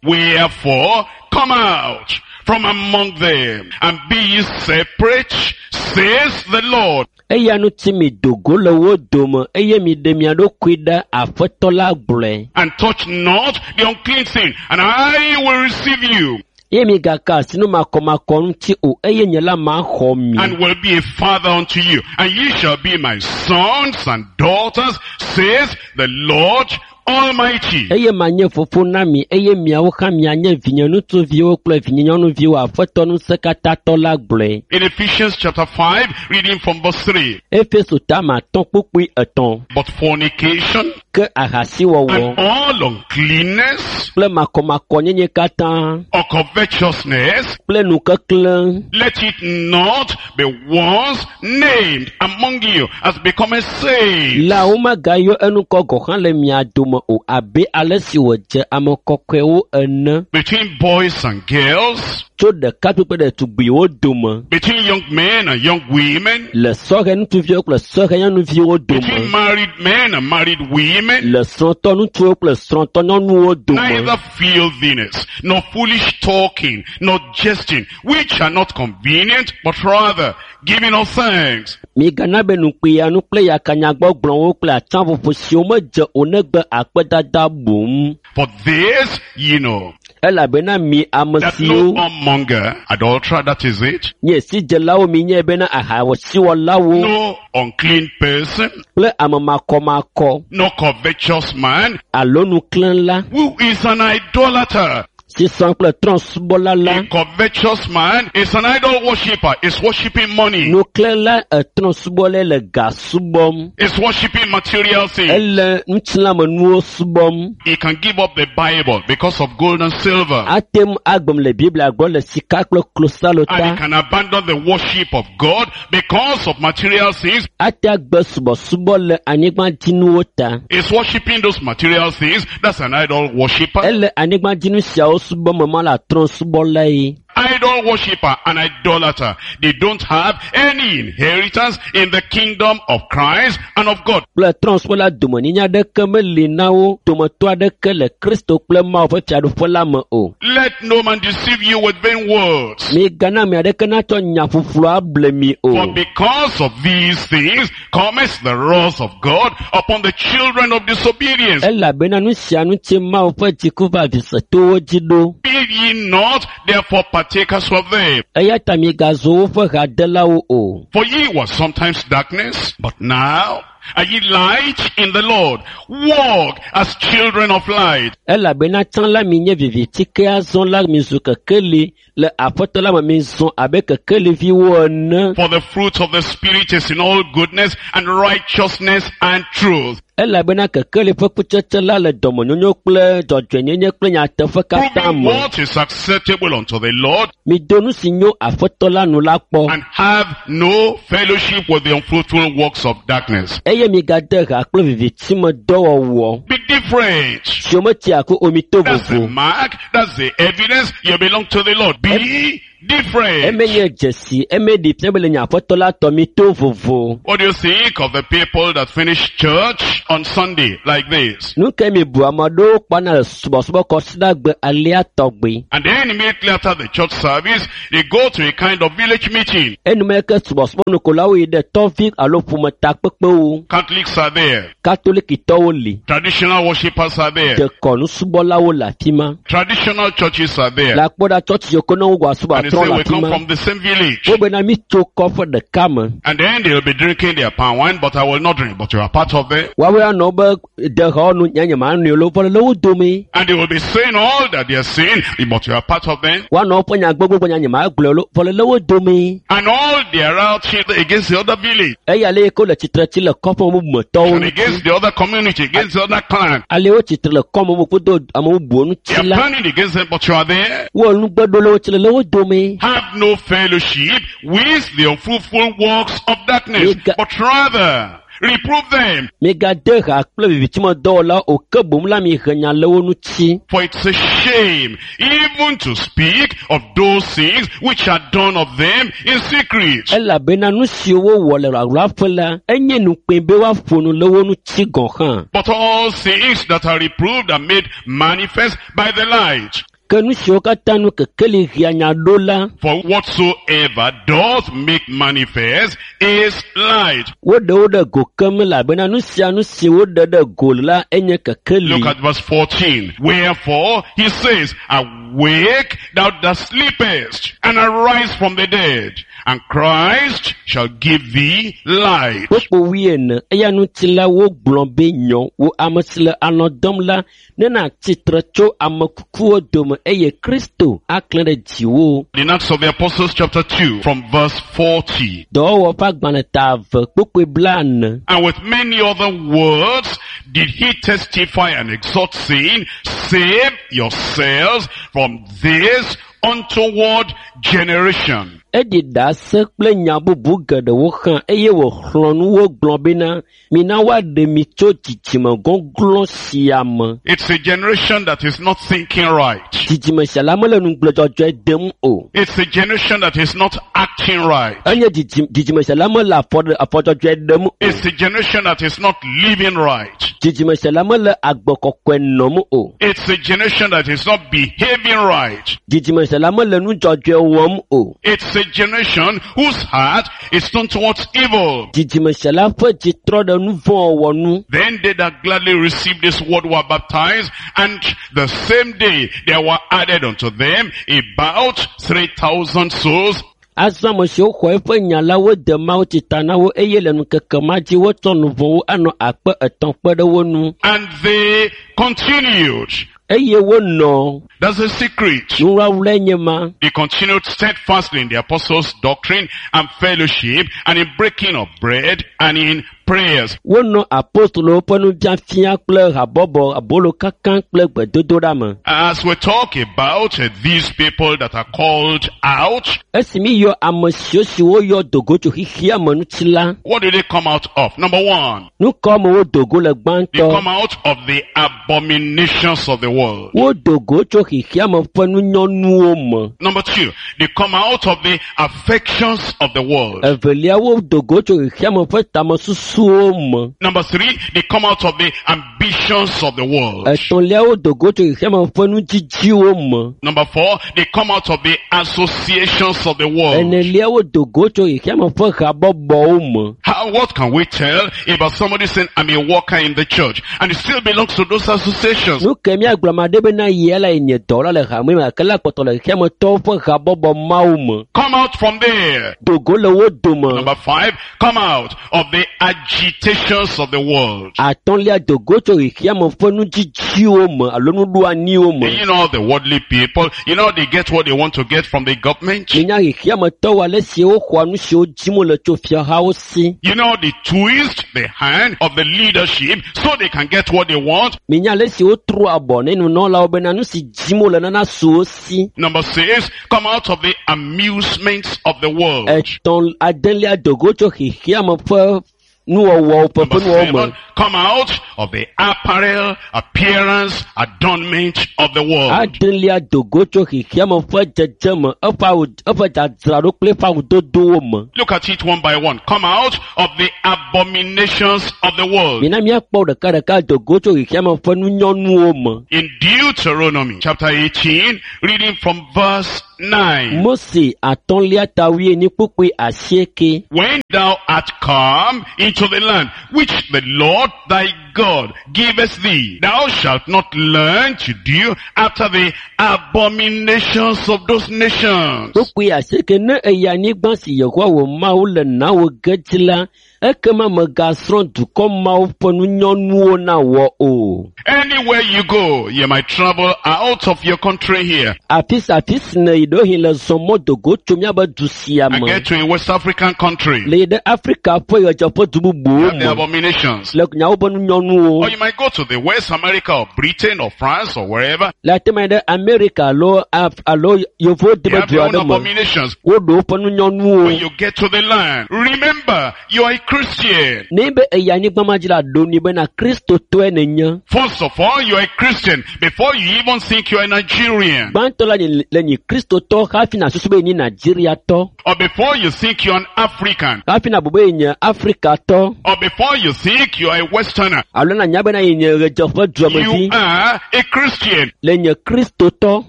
Wherefore, come out from among them and be ye separate, says the Lord. Eya ŋuti mi do go le wo dome eye mi ɖe mia ɖokui ɖe aƒetɔ la gblɔe. And touch not the unclean thing, and I will receive you, Eye mi gaka asi nu makɔmakɔ ŋuti o eye nye la maxɔ mi. and will be a father unto you, and ye shall be my sons and daughters, says the Lord Almighty. Eye manye fofo na mi eye miawo hã mianye vinye ŋutsuviwo kple vinye nyɔnuviwo aƒetɔ ŋusẽkatãtɔ la gblɔe. In Ephesians chapter five, reading from verse three. Efeso ta ma atɔ̃ kpukpui etɔ̃. But fornication Ke ahasiwɔwɔ and all uncleanness kple makɔmakɔnyenye katã or covetousness, kple nukeklẽ let it not be once named among you as becoming saints. la womegayɔ enukɔ gɔ̃ hã le mia dome o abe ale si wòdze ame kɔkɔewo ene Between boys and girls, tso ɖekakpui kple ɖetugbiwo dome between young men and young women, le sɔhɛ ŋutsuviwo kple sɔhɛ nyɔnuviwo dome between married men and married women, le srɔ̃tɔ ŋutsuwo kple srɔ̃tɔ nyɔnuwo dome neither filthiness, nor foolish talking, nor jesting, which are not convenient, but rather giving of thanks. Migana be nukpiyanu kple yakanyagbɔgblɔwo kple atsãƒoƒo siwo medze o negbe akpedada boŋ For this ye know, elabena mi ame that no siwo whoremonger, adulterer, that is it, nye sidzelawo mi nye bena ahasiwɔlawo no unclean person, kple ame makɔmakɔ no covetous man, alo nuklẽla who is an idolater. si sɔ kple trɔ̃subɔla la A covetous man is an idol worshipper, is worshipping money, nuklẽla etrɔ̃subɔlae le ga subɔm is worshipping material things. ele ŋutilãmenuwo subɔm He can give up the Bible because of gold and silver. ate ŋu agbem le biblia gbɔ le sika kple klosalo And ta he can abandon the worship of God because of material things. ate agbe subɔsubɔ le anyigbadzinuwo ta Is worshipping those material things. That's an idol worshipper. ele anyigbadzinu siawo subɔm me ma le trɔ̃subɔlae idol worshipper, and idolater, they don't have any inheritance in the kingdom of Christ and of God. Kple trɔ̃subɔla domenyinya aɖeke meli na wo dometɔ aɖeke le Kristo kple Mawu ƒe fiaɖuƒe la me o. Let no man deceive you with vain words. Migana ame aɖeke natsɔ nya ƒuƒlu able mi o. For because of these things cometh the wrath of God upon the children of disobedience. Elabena nu sia ŋuti Mawu ƒe dziku va visetowo dzi ɖo. Be ye not therefore partakers of them. Eya ta migazu woƒe hadelawo o. For ye were sometimes darkness, but now are ye light in the Lord. Walk as children of light. Elabena tsã la mi nye viviti ke azɔ la mizu kekeli le Aƒetɔ la me mizɔ abe kekeliviwo ene. For the fruit of the Spirit is in all goodness and righteousness and truth. Elabena kekeli ƒe kutsetse la le dɔmenyonyo kple dzɔdzɔenyenye kple nyateƒe katã Proving me. what is acceptable unto the Lord, Mido nu si nyo Aƒetɔ la nu la kpɔ and have no fellowship with the unfruitful works of darkness. eye migade ha kple viviti me dɔwɔwɔ Be different. siwo metia ko o mi to That's the vovo. mark, that's the evidence you belong to the Lord. Be different. Eme nye dzesi, eme ɖi fia be le nye Aƒetɔ la tɔ mi to vovo. What do you think of the people that finish church on Sunday like this? Nu ke mi bu ame aɖewo kpɔna le subɔsubɔ kɔsiɖagbe alea tɔgbi. And then immediately after the church service, they go to a kind of village meeting. Enumeke subɔsubɔnukolawo yi ɖe tɔvi alo ƒometakpekpewo. Catholics are there. Katolikitɔwo li. Traditional worshippers are there. Dekɔnusubɔlawo le afi ma. Traditional churches are there. Le akpɔ ɖa tsɔtsi yiwo ke ne wowɔ asubɔ And they atrɔ say le we afi come ma. from the same village. Wobena mi tso kɔƒe ɖeka me. And then they'll be drinking their palm wine, but I will not drink. But you are part of them. Woawoe anɔ be dexɔwo nu nye nye ma nui lo vɔ le wo dome. And they will be saying all that they are saying, but you are part of them. Woanɔ woƒe nya gbogbo nya nye ma gblɔe lo vɔ le wo dome. And all they are out here against the other village, Eya ale yi ke wole tsitre tsi le kɔƒe bubu me tɔwo and ŋuti. against the other community, against the other clan. Ale wo tsitre le kɔme bubu kudo ame bubuwo They ŋuti are la. planning against them, but you are there. Wo nugbeɖolawo tsi le le wo dome. Have no fellowship with the unfruitful works of darkness, Mega- but rather reprove them. Migade ha kple vivitimetɔwɔlawo o ke boŋ la mihe nya le wo ŋuti. For it's a shame even to speak of those things which are done of them in secret. Elabena nu siwo wowɔ le ɣaɣlaƒe la, enye nukpee be woaƒo nu le wo ŋuti gɔ̃ hã. But all things that are reproved are made manifest by the light. Ke nu siwo katã nu kekeli hea nya ɖo la, For whatsoever doth make manifest is light. woɖe wo ɖe go keŋ elabena nu sia nu si woɖe ɖe go la enye kekeli. Look at verse fourteen. Wherefore he says, Awake thou that sleepest, and arise from the dead, and Christ shall give thee light. Kpukpu wuiene eya ŋuti la wogblɔ be nyɔ wo ame si le alɔ̃ dɔm la ne nàtsi tre tso ame kukuwo dome eye Kristo aklẽ ɖe dziwò. In Acts of the Apostles chapter two from verse forty. Dɔwɔwɔ ƒe agbalẽ ta eve kpukpui blaene. And with many other words did he testify and exhort, saying, Save yourselves from this untoward generation. Eɖi ɖase kple nya bubu geɖewo hã eye wòxlɔ̃ nu wo gblɔ bena mina woaɖe mi tso dzidzime gɔglɔ̃ sia me. It's a generation that is not thinking right. Dzidzime sia la mele nugble dzɔdzɔe dem o. It's a generation that is not acting right. Enye dzidzim- dzidzime sia la mele afɔ ɖe- afɔ dzɔdzɔe ɖem o. It's a generation that is not living right. Dzidzime sia la mele agbe kɔkɔe nɔm o. It's a generation that is not behaving right. Dzidzime sia la mele nu dzɔdzɔe wɔm o. It's a generation whose heart is turned towards evil. Dzidzime sia la ƒe dzi trɔ ɖe nu vɔ̃ wɔwɔ nu. Then they that gladly received this word were baptized, and the same day there were added unto them about three thousand souls. Azɔ ame siwo xɔ eƒe nya la wode Mawu tsi ta na wo eye le ŋkeke ma dzi wotsɔ nu vɔ̃wo anɔ akpe etɔ̃ kpe ɖe wo nu. And they continued. Eye wonɔ That's a secret. nuwlawlae nye ma. They continued steadfastly in the apostles' doctrine and fellowship, and in breaking of bread and in prayers. Wonɔ apostolowo ƒe nufiafia kple habɔbɔ abolo kaka kple gbedodoɖa me. As we talk about uh, these people that are called out, Esi míeyɔ ame siwo siwo yɔ dogo tso xexea me ŋuti la, what do they come out of? Number one, nu ka me wodo go le they gbãtɔ? come out of the abominations of the world. Wodo go tso xexea me ƒe nunyɔnuwo me. Number two, they come out of the affections of the world. Evelia, wodo go tso xexea me ƒe tamesusuwo me. Number three, they come out of the ambitions of the world. Etɔ̃lia, wodo go tso xexea me ƒe nudzidziwo me. Number four, they come out of the associations of the world. Enelia, wodo go tso xexea me ƒe habɔbɔwo me. How, what can we tell about somebody saying, I'm a worker in the church, and he still belongs to those associations? Nu ke míagblɔ ame aɖe bena yia la nye dɔwɔla le hame me gake la kpɔtɔ le xexea me tɔwo ƒe habɔbɔ mawo me. Come out from there. Do go le wo dome. Number five, come out of the agitations of the world. Atɔ̃lia, do go tso xexea me ƒe nudzidziwo me alo nuɖoanyiwo me. You know, the worldly people, you know, they get what they want to get from the government. Minya xexea me tɔwo ale si woxɔa nu siwo dzim wole tso fiahawo si. You know, they twist the hand of the leadership so they can get what they want. Minya ale si wotrɔ abɔ ne nunɔlawo bena nu si dzim wole nana su wo si. Number six, come out of the amusements of the world. Etɔ̃ adelia do go tso xexea me ƒe nuwɔwɔwo ƒe Number ƒe nuwɔwɔ me. seven, come out of the apparel, appearance, adornment of the world. Adelia do go tso xexea me ƒe dzedzeme, eƒe awu, eƒe dzadzraɖo kple eƒe awudodowo me. Look at it one by one. Come out of the abominations of the world. Mina míakpɔ ɖekaɖeka do go tso xexea me ƒe nunyɔnuwo me. In Deuteronomy chapter eighteen, reading from verse nine. Mose atɔ̃lia ta wuienyi kpukpui asieke. When thou art come into the land which the Lord thy God giveth thee, thou shalt not learn to do after the abominations of those nations. Kpukpui asieke ne eyi anyigba si Yehowa wò Mawu le na wò ge dzi la, ekema mègasrɔ̃ dukɔ mawo ƒe nunyɔnuwo na wɔ o. Anywhere you go, you might travel out of your country here Afi sia afi si nèyi ɖewohĩ le zɔ mɔ do go tso míabe du sia and me. get to a West African country. Le yi ɖe Afrika ƒe ɣedzeƒe du bubuwo Have the me. abominations. Le nyawo ƒe nunyɔnuwo. Or you might go to the West America or Britain or France or wherever. Le ate ma yi ɖe Amerika alo Af- alo yevuwo They deme have du their own aɖe me. abominations. Woɖo woƒe nunyɔnuwo. When you get to the land, remember you are a Christian. Ne be eyi anyigba ma dzi la ɖo nui bena Kristotɔe nènye. First of all, you are a Christian before you even think you are a Nigerian. Gbãtɔ la nye le nyi Kristotɔ hafi nàsusu be yenye Nigeriatɔ. Or before you think you are an African. Hafi nàbu be yenye Afrikatɔ. Or before you think you are a Westerner. Alo nànya bena yenye ɣedzeƒe You duamevi. are a Christian. Le nye Kristotɔ.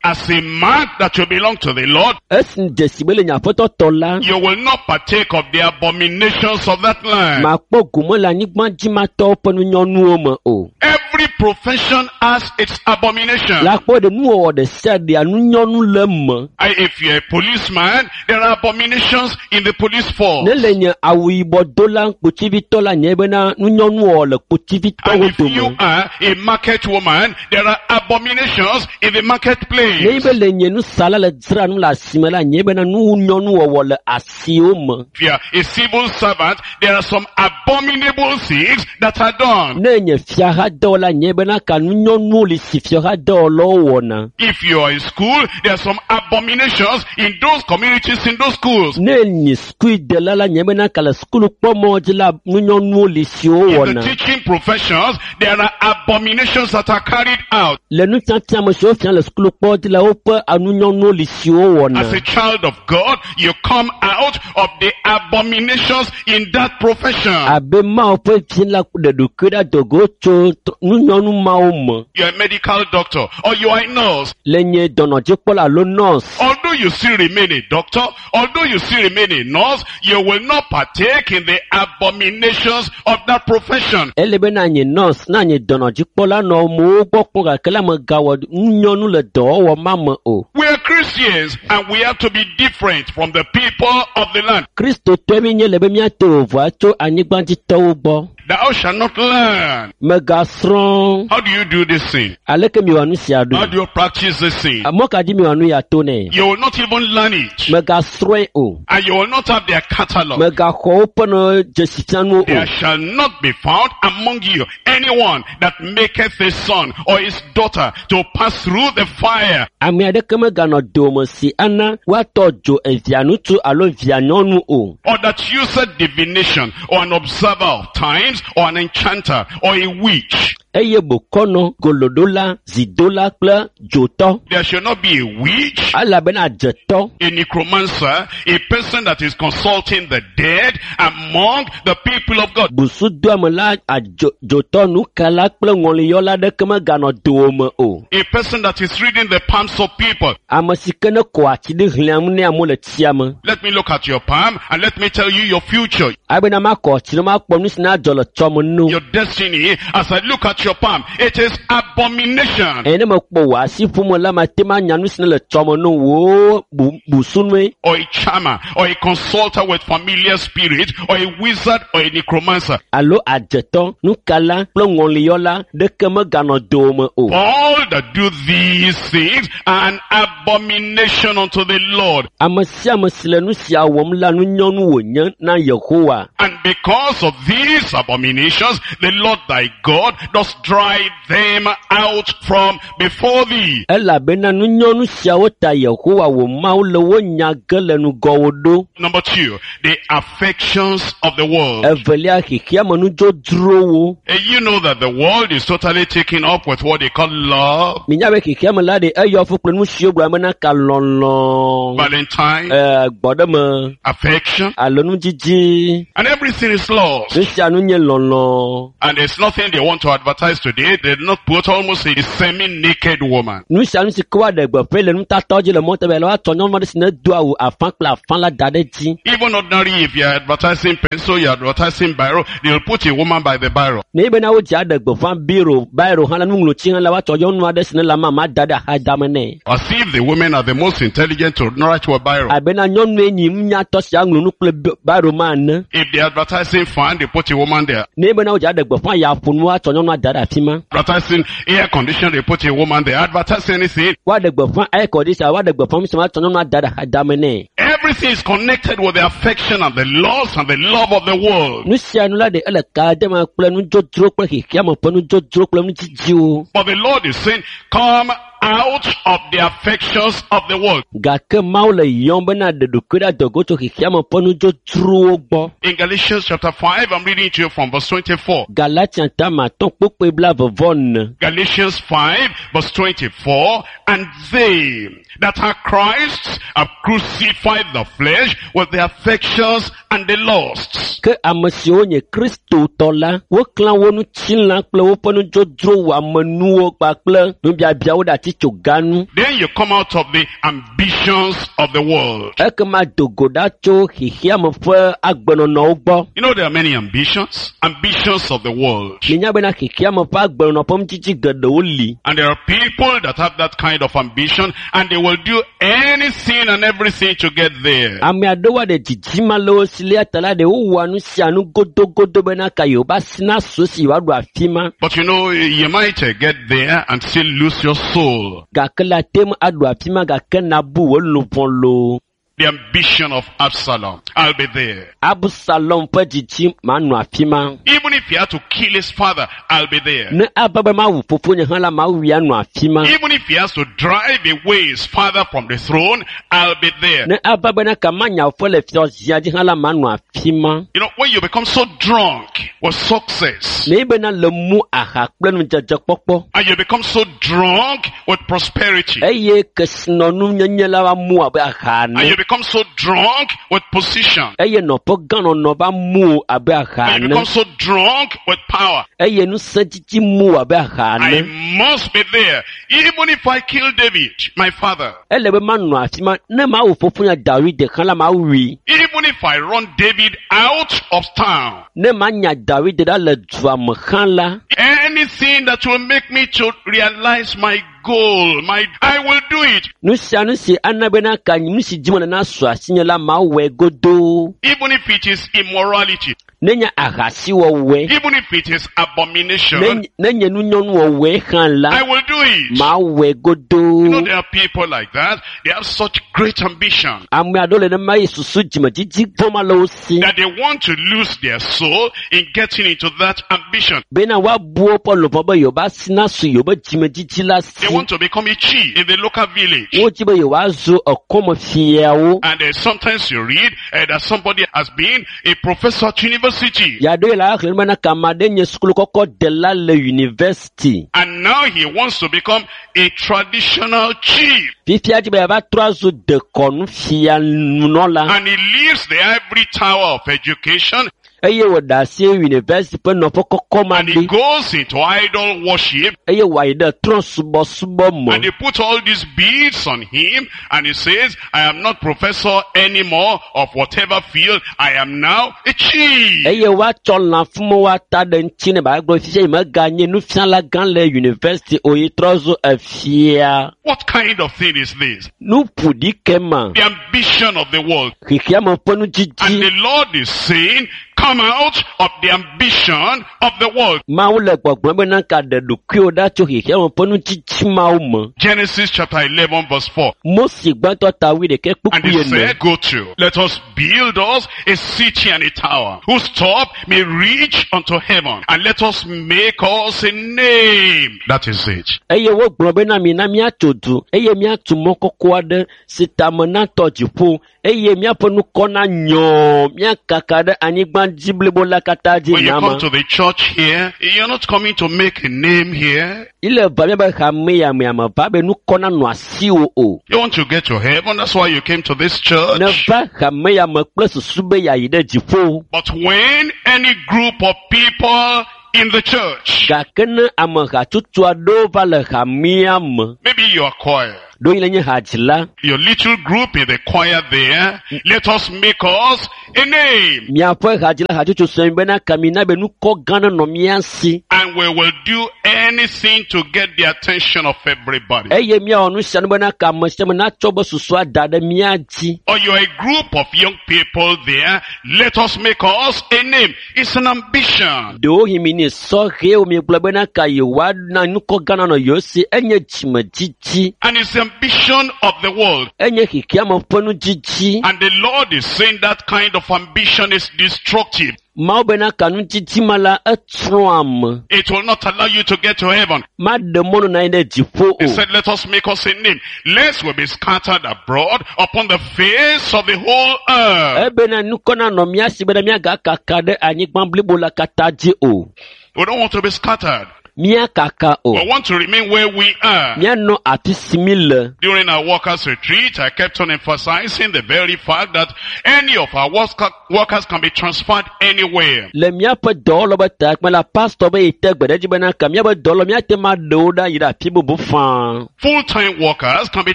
As a mark that you belong to the Lord, Esi dzesi be le nye aƒetɔ tɔ la, you will not partake of the abominations of that land. makpɔ gome le anyigbadzimatɔwo ƒe nunyɔnuwo me o. Every profession has its abomination. Le akpɔ ɖe nuwɔwɔ ɖe sia ɖea nunyɔnu le eme. I- If you're a policeman, there are abominations in the police force. Ne le nye awu yibɔ dola kpotsivitɔ la nye bena nunyɔnuwɔwɔ le And kpotsivitɔwo if you dome. are a market woman, there are abominations in the Ne marketplace. be le nye nusala le dzra nu le asime la nye bena nunyɔnuwɔwɔ le asiwo me. If you are a civil servant, there are some abominable things that are done. Ne nye fiahadɔwɔla nye bena ka nunyɔnuwo li si fiahadɔwɔlawo wɔna. If you are in school, there are some abominations in those communities, in those schools. Ne nye sukuidela la nye bena ka le sukulu kpɔmɔ dzi la nunyɔnuwo li siwo In the wɔna. teaching professions, there are abominations that are carried out. Le nufiafia me siwo fia le sukulu kpɔ dzi la woƒe anunyɔnuwo li siwo wɔna. As a child of God, you come out of the abominations in that profession. Abe Mawu ƒe vi la ɖe ɖokui ɖe dogo tso t- nunyɔnu mawo me. You are a medical doctor or you are a nurse. Le nye dɔnɔdzikpɔla alo nurse. Although you still remain a doctor, although you still remain a nurse, you will not partake in the abominations of that profession. Ele be na nye nurse, na nye dɔnɔdzikpɔla nɔ amewo gbɔ kpɔm gake la megawɔ nunyɔnu le dɔwɔwɔ ma me o. We are Christians and we have to be different from the people of the land. Kristotɔe mi nye le be míate vovoa tso anyigbadzitɔwo gbɔ. Thou shalt not learn. Megasrɔ̃. How do you do this thing? Aleke miwɔ nu sia How ɖo? do you practice this thing? Mɔ ka dzi miwɔ nu ya to nɛ? You will not even learn it. Megasrɔ̃e o. And you will not have their catalog. Megaxɔ woƒe nɔ dzesifianuwo o. There shall not be found among you anyone that maketh his son or his daughter to pass through the fire, Ame aɖeke meganɔ dowòme si ana woatɔ dzo evia ŋutsu alo via nyɔnu o. or that useth divination, or an observer of times, or an enchanter, or a witch. Eye bokɔnɔ, goloɖola, zidola kple dzotɔ. There shall not be a witch, Elabena dzetɔ, a necromancer, a person that is consulting the dead among the people of God. busudoamela, adzo dzotɔ, nukala kple ŋɔliyɔla aɖeke meganɔ dowòme o. A person that is reading the palms of people. Ame si ke ne kɔ ati ɖi xlẽam ne amewo le tsia me. Let me look at your palm and let me tell you your future, Abena makɔ ati ɖe makpɔ nu si na dzɔ le tsɔme no. your destiny. As I look at your palm, it is abomination. Eye ne mekpɔ wò asi ƒome la, mate ŋu anya nu si ne le tsɔme no wò bu busunue. Or a charmer, or a consulter with familiar spirit, or a wizard, or a necromancer. Alo adzetɔ, nukala kple ŋɔliyɔla ɖeke meganɔ dowòme o. All that do these things are an abomination unto the Lord. Ame sia ame si le nu sia wɔm la, nunyɔnu wònye na Yehowa. And because of these abominations, the Lord thy God does drive them out from before thee. Elabena nunyɔnu siawo ta Yehowa wò Mawu le wo nya ge le ŋgɔwò ɖo. Number two, the affections of the world. Evelia, xexeame nudzodzrowo. Eh, You know that the world is totally taken up with what they call love, Minya be xexeame la ɖe eyɔ fu kple nu siwo gblɔ bena ka lɔlɔ, Valentine, eh, gbɔɖeme affection, alo nudzidzi. and everything is lost. Nu sia nu nye lɔlɔ. And there's nothing they want to advertise today. They did not put almost a semi-naked woman. Nu sia nu si ke woaɖe gbeƒãe le nutatɔwo dzi le mɔta be la woatsɔ nyɔnu aɖe si ne do awu afã kple afã la da ɖe edzi. Even ordinary, if you're advertising pencil, you're advertising biro, they'll put a woman by the biro. Ne ye bena wodze aɖe gbeƒã biro, biro hã la nuŋlɔtsi hã la woatsɔ nyɔnu aɖe si ne le amama da ɖe axadame nɛ. As if the women are the most intelligent to write to a biro. Abena nyɔnue nyi nunyatɔ si aŋlɔ nu kple bi- biro ma ene. If they're advertising fan, they put a woman there. Ne ye bena wodze aɖe gbeƒã yaƒonu woatsɔ nyɔnua da ɖe afi ma. Advertising air condition, they put a woman there. Advertising anything. Woaɖe gbeƒã air condition, woaɖe gbeƒã nu sia woatsɔ nyɔnua da ɖe axadame nɛ. Everything is connected with the affection and the lust and the love of the world. Nu sia nu la ɖe ele ka de me kple nudzodzro kple xexeame ƒe nudzodzro kple nudzidziwo. But the Lord is saying, come out of the affections of the world. Gake Mawu le yɔm bena ɖe ɖokui ɖe adɔgo tso xexeame ƒe nudzodzrowo gbɔ. In Galatians chapter five, I'm reading to you from verse twenty-four. Galatia tama atɔ̃ kpukpui blaeve vɔ ene. Galatians five verse twenty-four, and they that are Christ's have crucified the flesh with the affections and the lusts. Ke ame siwo nye Kristotɔ la, woklã wo ŋutilã kple woƒe nudzodzro wɔamenuwo kpakple nubiabiawo ɖe atitsoga nu. Then you come out of the ambitions of the world. Ekema do go ɖa tso xexeame ƒe agbenɔnɔwo gbɔ. You know there are many ambitions, ambitions of the world. Minya bena xexeame ƒe agbenɔnɔ ƒe nudzidzi geɖewo li. And there are people that have that kind of ambition and they will do anything and everything to get there. Ame aɖewo aɖe dzidzima le wo si le ta la ɖe wowɔa nu sia nu godogodo bena ka yewoba asi nasu esi yewoaɖu afi ma. But you know, you might uh, get there and still lose your soul. Gake la te ŋu aɖu afi ma gake nabu wò luʋɔ loo. The ambition of Absalom. I'll be there. Absalom ƒe dzidzi manɔ afi ma. Even if he had to kill his father, I'll be there. Ne ava be mawu fofonye hã la, mawui anɔ afi ma. Even if he has to drive away his father from the throne, I'll be there. Ne ava bena kama nya fe le fiazia dzi hã la, manɔ afi ma. You know, when you become so drunk with success, Ne bena le mu aha kple nudzedzekpɔkpɔ and you become so drunk with prosperity, eye kesinɔnu la va mu abe aha and ene you become so drunk with position, eye nɔƒe gãnɔnɔ va mu abe aha and you ene become so drunk with power. eye ŋusẽdzidzi mu abe aha I ene. must be there, even if I kill David, my father. Ele be manɔ afi ma ne mawu fofonye Dawid hã la mawui. Even if I run David out of town. Ne manya Dawid ɖa le dua me hã la, Anything that will make me to realize my goal, my, I will do it. nu sia nu si ana bena ka nu si dzi mele nasu asinye la mawɔe godoo. Even if it is immorality. Nenye ahasiwɔwɔe, even if it is abomination, nenye nenye nunyɔnuwɔwɔe hã la, I will do it. mawɔe You know, godoo. there are people like that. They have such great ambition Ame aɖewo le nema eye susu dzimedzidzi vɔ̃ ma le wo si that they want to lose their soul in getting into that ambition. bena woabu woƒe luʋɔ be yewobe asi nasu yewobe dzimedzidzi la si. They want to become a chief in the local village. Wodzi be yewoazu ekɔmefiawo. And uh, sometimes you read uh, that somebody has been a professor at university. Yaɖo yi le axlẽ bena kame aɖe nye sukulu kɔkɔ dela le yunivɛsiti. And now he wants to become a traditional chief. Fifia dzi be yeava trɔ azu dekɔnu nunɔla And he leaves the ivory tower of education eye wòɖe asi yunivɛsiti ƒe nɔƒe kɔkɔ ma and he ɖi goes into idol worship eye wòayi ɖe trɔ̃subɔsubɔ me. and they put all these beads on him and he says, I am not professor anymore of whatever field. I am now a chief. Eye woatsɔ lãfumewo ata ɖe ŋuti ne bagblɔ fifia yi meganye nufiala gã le yunivɛsiti o yi trɔ zu efia. What kind of thing is this? Nu ƒo ɖi ke ma. The ambition of the world. Xexeame ƒe And nudzidzi. the Lord is saying, come out of the ambition of the world. Mawu le gbɔgblɔm bena ka ɖe ɖokuiwò ɖa tso xexeame ƒe nudzidzi mawo me. Genesis chapter eleven verse four. Mose gbãtɔ ta wuiɖekɛ And kpukpui he ene. said, go to, let us build us a city and a tower, whose top may reach unto heaven, and let us make us a name. That is it. Eye wogblɔ bena mina míatso du eye míatu mɔ kɔkɔ aɖe si tame natɔ dziƒo eye míaƒe nukɔ nanyɔ míakaka ɖe anyigba dzi blibo la katã dzi When you nyama. come to the church here, you're not coming to make a name here. Ile va míabe hame ya me ame va be nukɔ nanɔ asiwò o. You want to get to heaven, that's why you came to this church. Neva hame ya me kple susu be yeayi ɖe dziƒo. But when any group of people in the church, Gake ne ame hatsotso aɖewo va le hamea me, maybe your choir, ɖewohĩ le nye hadzila, your little group in the choir there, let us make us a name. miaƒe hadzila hatsotso sue bena kamina be nukɔ gã nenɔ mía si. And we will do anything to get the attention of everybody. Eye míawɔ nu sia nu bena ka ame sia ame natsɔ be susua da ɖe mía dzi. Or you're a group of young people there, let us make us a name. It's an ambition. Ɖewohĩ mi ne sɔhɛwo miegblɔ bena ka yewoana nukɔ gã nanɔ yewo si enye dzimedzidzi, And it's the ambition of the world. enye xexeame ƒe nudzidzi. And the Lord is saying that kind of ambition is destructive. Mawu bena ka nudzidzi ma la etsrɔ̃ ame. It will not allow you to get to heaven. Maɖe mɔnu na anyi ɖe dziƒo He o. said, let us make us a name, lest we be scattered abroad upon the face of the whole earth. Ebena nukɔ nanɔ mía si bena míagakaka ɖe anyigba blibo la katã dzi o. We don't want to be scattered. Míakaka o. We want to remain where we are. Míanɔ afi si mí le. During our workers retreat, I kept on emphasizing the very fact that any of our worker- workers can be transferred anywhere. Le míaƒe dɔwɔlɔ be takpe la, pastor be yi te gbe ɖe edzi bena ka míaƒe dɔwɔlɔ míate ŋu aɖe wo ɖa yi ɖe afi bubu faa. Full-time workers can be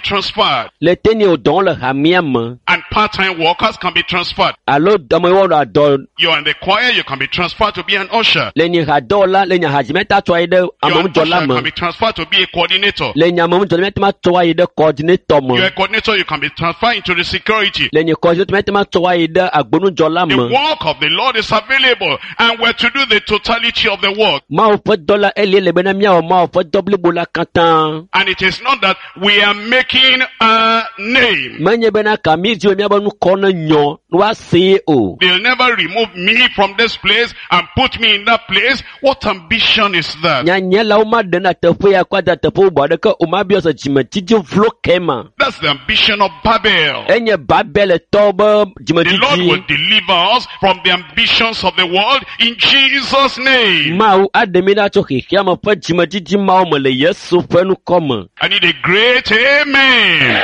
transferred Le te ne wo dɔwɔm le hamea me and part-time workers can be transferred. alo dɔme wɔna dɔ You're in the choir, you can be transferred to be an usher. le nye hadɔwɔla le nye hadzimeta tsɔ ayi ɖe You're an ameŋudzɔla usher, me. can be transferred to be a coordinator. Le nye ameŋudzɔla míate ŋu atsɔ ayi ɖe coordinator me. You're a coordinator, you can be transferred into the security. Le nye coordinator míate ŋu atsɔ ayi ɖe agbonudzɔla The me. work of the Lord is available and we're to do the totality of the work. Mawu ƒe dɔ la elie le bena míawɔ Mawu ƒe dɔ blibo la katã. And it is not that we are making a name. Menye bena ka mí dzi be míaƒe nukɔ ne nyɔ ne woasee o. They'll never remove me from this place and put me in that place. What ambition is that? Nyanya la womaɖe na teƒe ya kɔ ada teƒe bubu aɖeke o mabiɔ se dzimedzidzi vlo ke ma. That's the ambition of Babel. Enye Babeletɔwo be The Lord will dzimedzidzi. deliver us from the ambitions of the world in Jesus' name. Mawu aɖe mí ɖa tso xexeame ƒe dzimedzidzi mawo me le Yesu ƒe ŋkɔ me. I need a great amen.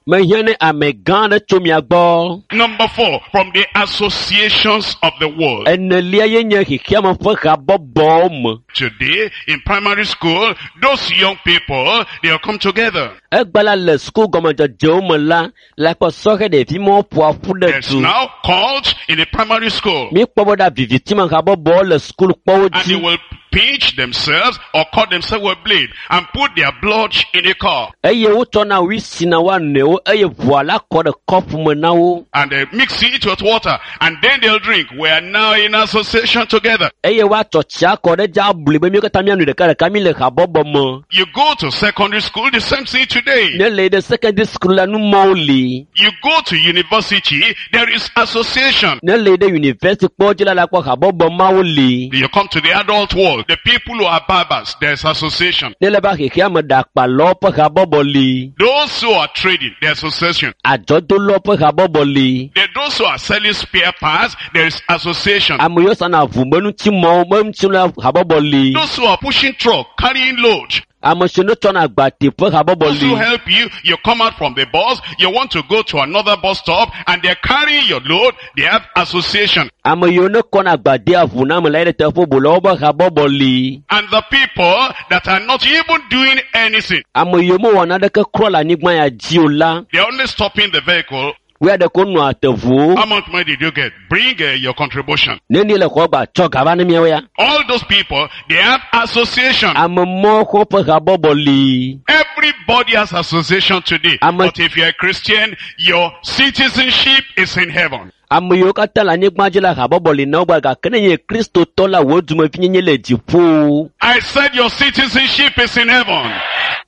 Mehiã ne ame gã aɖe tso mia gbɔ. Number four, from the associations of the world. Enelia ye nye xexeame ƒe habɔbɔwo me. Today, in primary school, those young people, they'll come together. Egba la le suku gɔmedzedzewo me la, le akpɔ sɔhɛ ɖevi mawo ƒoa ƒu ɖe There's du. now cult in the primary school. Míekpɔ be ɖa vivitime habɔbɔwo le sukulukpɔwo And they dzi. will pinch themselves or cut themselves with blade and put their blood in a cup. Eye wotsɔna wi si na woa nɔewo eye ʋua la kɔ ɖe kɔpu me na wo. And they mix it with water and then they'll drink. We are now in association together. Eye woatsɔ tsia kɔ ɖe dzi abli be míwo katã míanoe ɖekaɖeka mi le habɔbɔ me. You go to secondary school, the same thing today. Ne le yi ɖe secondary school la, numɔwo li. You go to university, there is association. Ne le yi ɖe university kpɔ dzi la, la kpɔ habɔbɔ mawo li. You come to the adult world, the people who are barbers, there's association. Ne le va xexea me ɖakpalawo ƒe habɔbɔ li. Those who are trading, there's association. Adzɔdolawo ƒe habɔbɔ li. There those who are selling spare parts, there is association. Ame yiwo sana ʋu be ŋutimɔwo be ŋuti la habɔbɔ li. Those who are pushing truck, carrying load, Ame siwo ne tsɔna agbate ƒe habɔbɔ those who li. help you, you come out from the bus, you want to go to another bus stop, and they're carrying your load, they have association. Ame yiwo ne kɔna agbadea ʋu na ame la yi ɖe teƒe bubu la woƒe habɔbɔ li. And the people that are not even doing anything, Ame yiwo mewɔ naneke kura le anyigba ya dzi o la, they're only stopping the vehicle. woya ɖe ko nɔa te ʋuwo. How much money did you get? Bring uh, your contribution. Ne ni le xɔ gba tsɔ gava ne miawo ya. All those people, they have association. Ame mɔwo xɔ ƒe habɔbɔ li. Everybody has association today. I'm a- But if you're a Christian, your citizenship is in heaven. Ame yiwo katã le anyigba dzi la habɔbɔ li na wo gba gake ne nye kristotɔ la wo dumevinyenye le dziƒo. I said your citizenship is in heaven.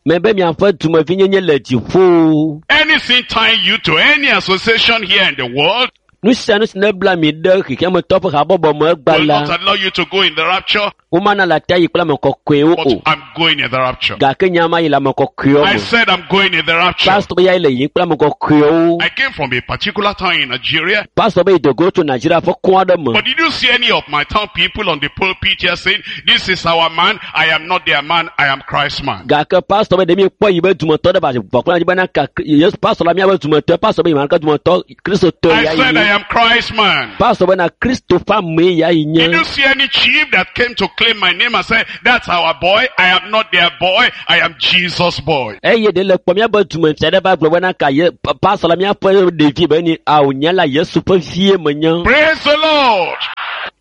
Mebe miaƒe dumevinyenye le dziƒo. Anything tying you to any association here in the world Nu sia nu si ne bla mi ɖe xexeametɔ ƒe habɔbɔ me egba will la, not allow you to go in the rapture, womana le ate ayi kple ame kɔkɔewo but o. I'm going in the rapture. Gake nye ama yi le ame kɔkɔewo I me. said I'm going in the rapture. Pastor ya yi le yiyim kple ame kɔkɔewo. I came from a particular town in Nigeria, Pastor be yi dogo tso Nigeria ƒe kɔn aɖe me. but did you see any of my town people on the pulpit here saying, this is our man, I am not their man, I am Christ's man? Gake pastor be ɖe mi kpɔ yi be dumetɔ ɖe va vɔ kple anyi bena ka Yesu pastor la miabe dumetɔ pastor be yi ma ke dumetɔ Kristotɔ I ya yi said I nye. am Christ's man. Pastor bena Kristo ƒe amee ya yi Did nye. you see any chief that came to claim my name and said, that's our boy, I am not their boy, I am Jesus' boy? Eye ɖe le kpɔ miabe dumefia ɖe va gblɔ bena ka ye pa- pastor la miaƒe ɖevi be ni awo nye la Yesu ƒe vie menye. Praise the Lord.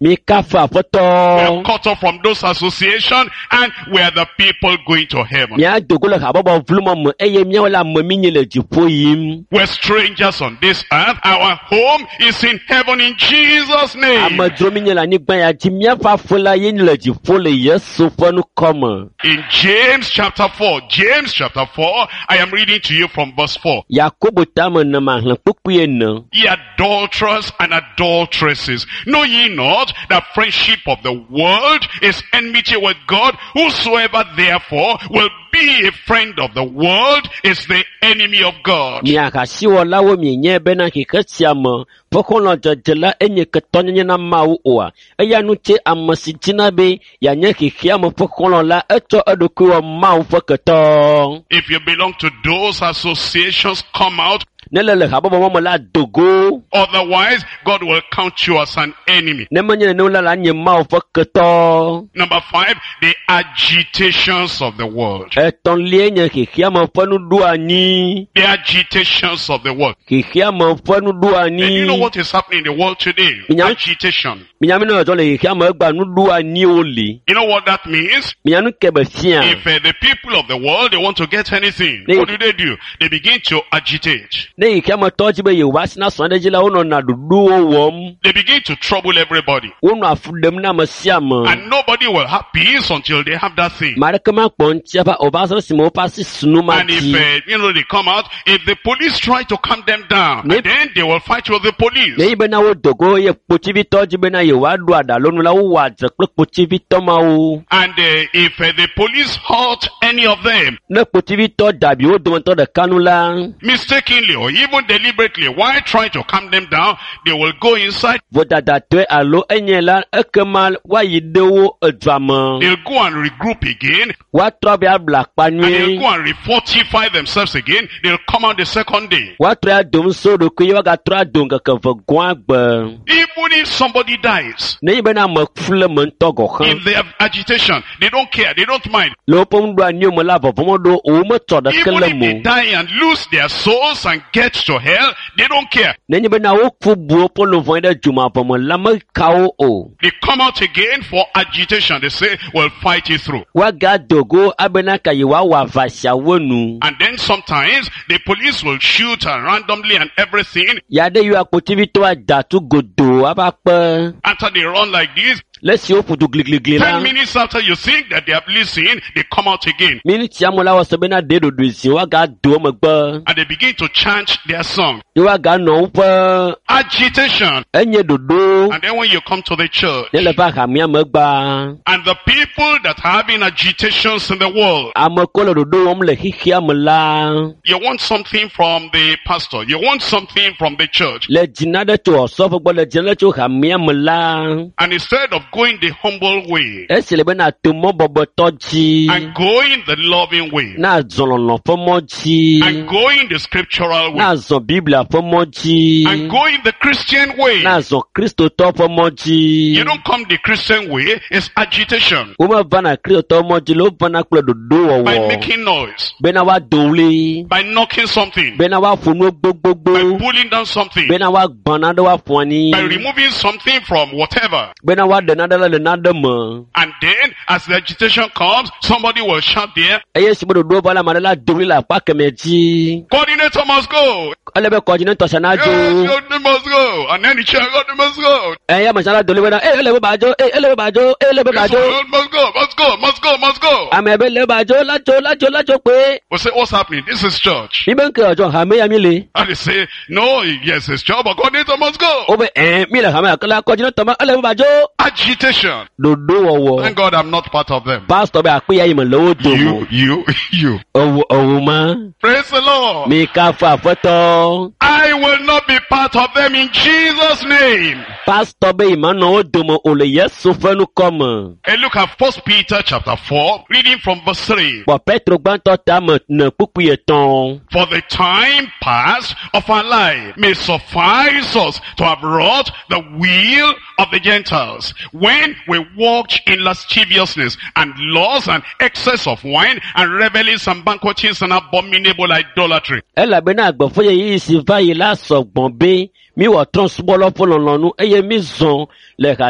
Mi kafu We are aƒetɔ. cut off from those association and we are the people going to heaven. Mía dogo le habɔbɔ vlumɔ me eye míawo le ame mi nye le dziƒo yim. We're strangers on this earth. Our home is in heaven in Jesus' name. Amedzro mi nye le anyigba ya dzi míaƒe aƒe la ye le dziƒo le Yesu ƒe ŋkɔ me. In James chapter four, James chapter four, I am reading to you from verse four. Yakobo tame ene maxlẽ kpukpui ene. Ye adulterers and adulteresses, know ye not that friendship of the world is enmity with God? Whosoever therefore will be a friend of the world is the enemy of God. Mi ahasiwɔlawo mienye bena xexe sia me ƒe xɔlɔ̃dzedze la enye ketɔnyenye na Mawu oa? Eya ŋuti ame si dzina be yeanye xexea me ƒe xɔlɔ̃ la, etsɔ eɖokui wɔ Mawu ƒe ketɔ. If you belong to those associations, come out. Ne le le habɔbɔ ma me la, dogo. Otherwise, God will count you as an enemy. Ne menye nenem la, la nye Mawu ƒe ketɔ. Number five, the agitations of the world. Etɔ̃liae nye xexea me ƒe nuɖoanyi. The agitations of the world. Xexea me ƒe And you know nuɖoanyi. what is happening in the world today? Yeah. Agitation. Minya mi ne dzɔdzɔ le xexea me egbea nuɖoanyiwo li. You know what that means? Minya nu ke be fia. If uh, the people of the world, they want to get anything, They- what do they do? They begin to agitate. Ne xexea me tɔ dzi be yewoasi na srɔ̃ ɖe dzi la, wonɔna ɖoɖowo wɔm. They begin to trouble everybody. Wonɔ afu ɖem na ame sia ame. And nobody will have peace until they have that thing. Ame aɖeke makpɔ ŋuti ava o va se ɖe esime woƒe asi sunu ma And if, dzi. uh, you know, they come out, if the police try to calm them down, Ne- then they will fight with the police. Ne yi bena wodo go eye kpotsivitɔ dzi bena yewoaɖo aɖalonu la, wowɔa dzre kple kpotsivitɔ mawo. And uh, if uh, the police hurt any of them, Ne kpotsivitɔ dabi wo dometɔ ɖeka nu la, mistakenly or even deliberately, while trying to calm them down, they will go inside, vodadatɔe alo enye la, ekema woayi ɖe wo edua me. they'll go and regroup again, Woatrɔ be abla akpa and they'll nyuie. go and refortify themselves again, they'll come out the second day. Woatrɔ ado ŋusẽ wo ɖokui ye woagatrɔ ado ŋkeke eve gɔ̃a gbe. Even if somebody dies, Ne yi bena ame ku le me ŋutɔ gɔ̃ hã. in their agitation, they don't care, they don't mind. Le woƒe nuɖoanyiwo me la, vɔvɔ̃ meɖo wo, wometsɔ ɖeke Even le if me they o. die and lose their souls and get to hell, they don't care. Nenye bena woku bu woƒe luʋɔ ɖe dzomavɔ me la meka wo o. They come out again for agitation. They say, we'll fight it through. Woagado go abena ka yewoawɔ aʋa siawo nu. And then sometimes the police will shoot and randomly and everything. Ya ɖe yiwo akpotivitɔ ada tu godoo ava kpe. After they run like this, Le esi woƒo du gligligli la, ten minutes after you think that they have listened, they come out again. miniti ame la wɔ se bena ɖe ɖoɖoe zi woagado megbe. And they begin to chant their song. Ye woaganɔ woƒe Agitation. enye ɖoɖo And then when you come to the church, ne le va hamea megbea, and the people that are having agitations in the world, ame ko le ɖoɖo wɔm le xexea me la, you want something from the pastor, you want something from the church. le dzina ɖe tso ɔsɔfo gbɔ le dzina ɖe tso hamea me la, And instead of going the humble way esi le bena to mɔ bɔbɔtɔ dzi, and going the loving way na zɔ lɔlɔ ƒe mɔ dzi, and going the scriptural way na zɔ Biblia ƒe mɔ dzi, and going the Christian way, na zɔ Kristotɔ ƒe mɔ dzi. you don't come the Christian way, it's agitation Womevana Kristotɔ mɔ dzi le wovana kple by ɖoɖowɔwɔ making noise, bena woado ɣli, by knocking something, bena woaƒo nu by gbogbogbò, pulling down something, bena woagbã nane woaƒo anyi, by removing something from whatever. bena woaɖe nane le nane me. And then, as the agitation comes, somebody will shout there, Eye esi be ɖoɖowo va la, ame aɖe la do ɣli le akpa kemɛ dzi. coordinator must go. Ele be kɔdzinetɔ sia nadzo. Yes, coordinator must go. And then the chair, coordinator must go. Eye ame sia la do ɣli bena, "Ee, ele be badzo, ee, ele be badzo, ee, ele be This badzo." one must go, must go, must go, must go. Ame be le badzo, la dzo, la dzo, la dzo kpe. We say, what's happening? This is church. Mi be ŋke ɔdzɔ hame ya mi le. And they say, no, yes, it's church, but coordinator must go. Wobe ɛɛ mi le hame ya ke la kɔdzinetɔ ma ele be badzo. Agitation. Ɖoɖowɔwɔ. Thank God I'm not part of them. Pastor be akpe ya yi me le wo dome. You, you, you. Ewo ewo ma. Praise the Lord. Mi kafu aƒetɔ. I will not be part of them in Jesus' name. Pastor be yi ma nɔ wo dome o le Yesu ƒe ŋkɔ me. And look at First Peter chapter four, reading from verse three. Kpɔ Petro gbãtɔ tame ne kpukpui etɔ̃. For the time past of our life may suffice us to have wrought the will of the Gentiles, when we walked in lasciviousness and lust and excess of wine and revelings and banquetings and abominable idolatry. Elabena agbe ƒe ɣeyiɣi si va yi la sɔgbɔ be miwɔ trɔ̃subɔlawo ƒe lɔlɔ̃nu eye mizɔ le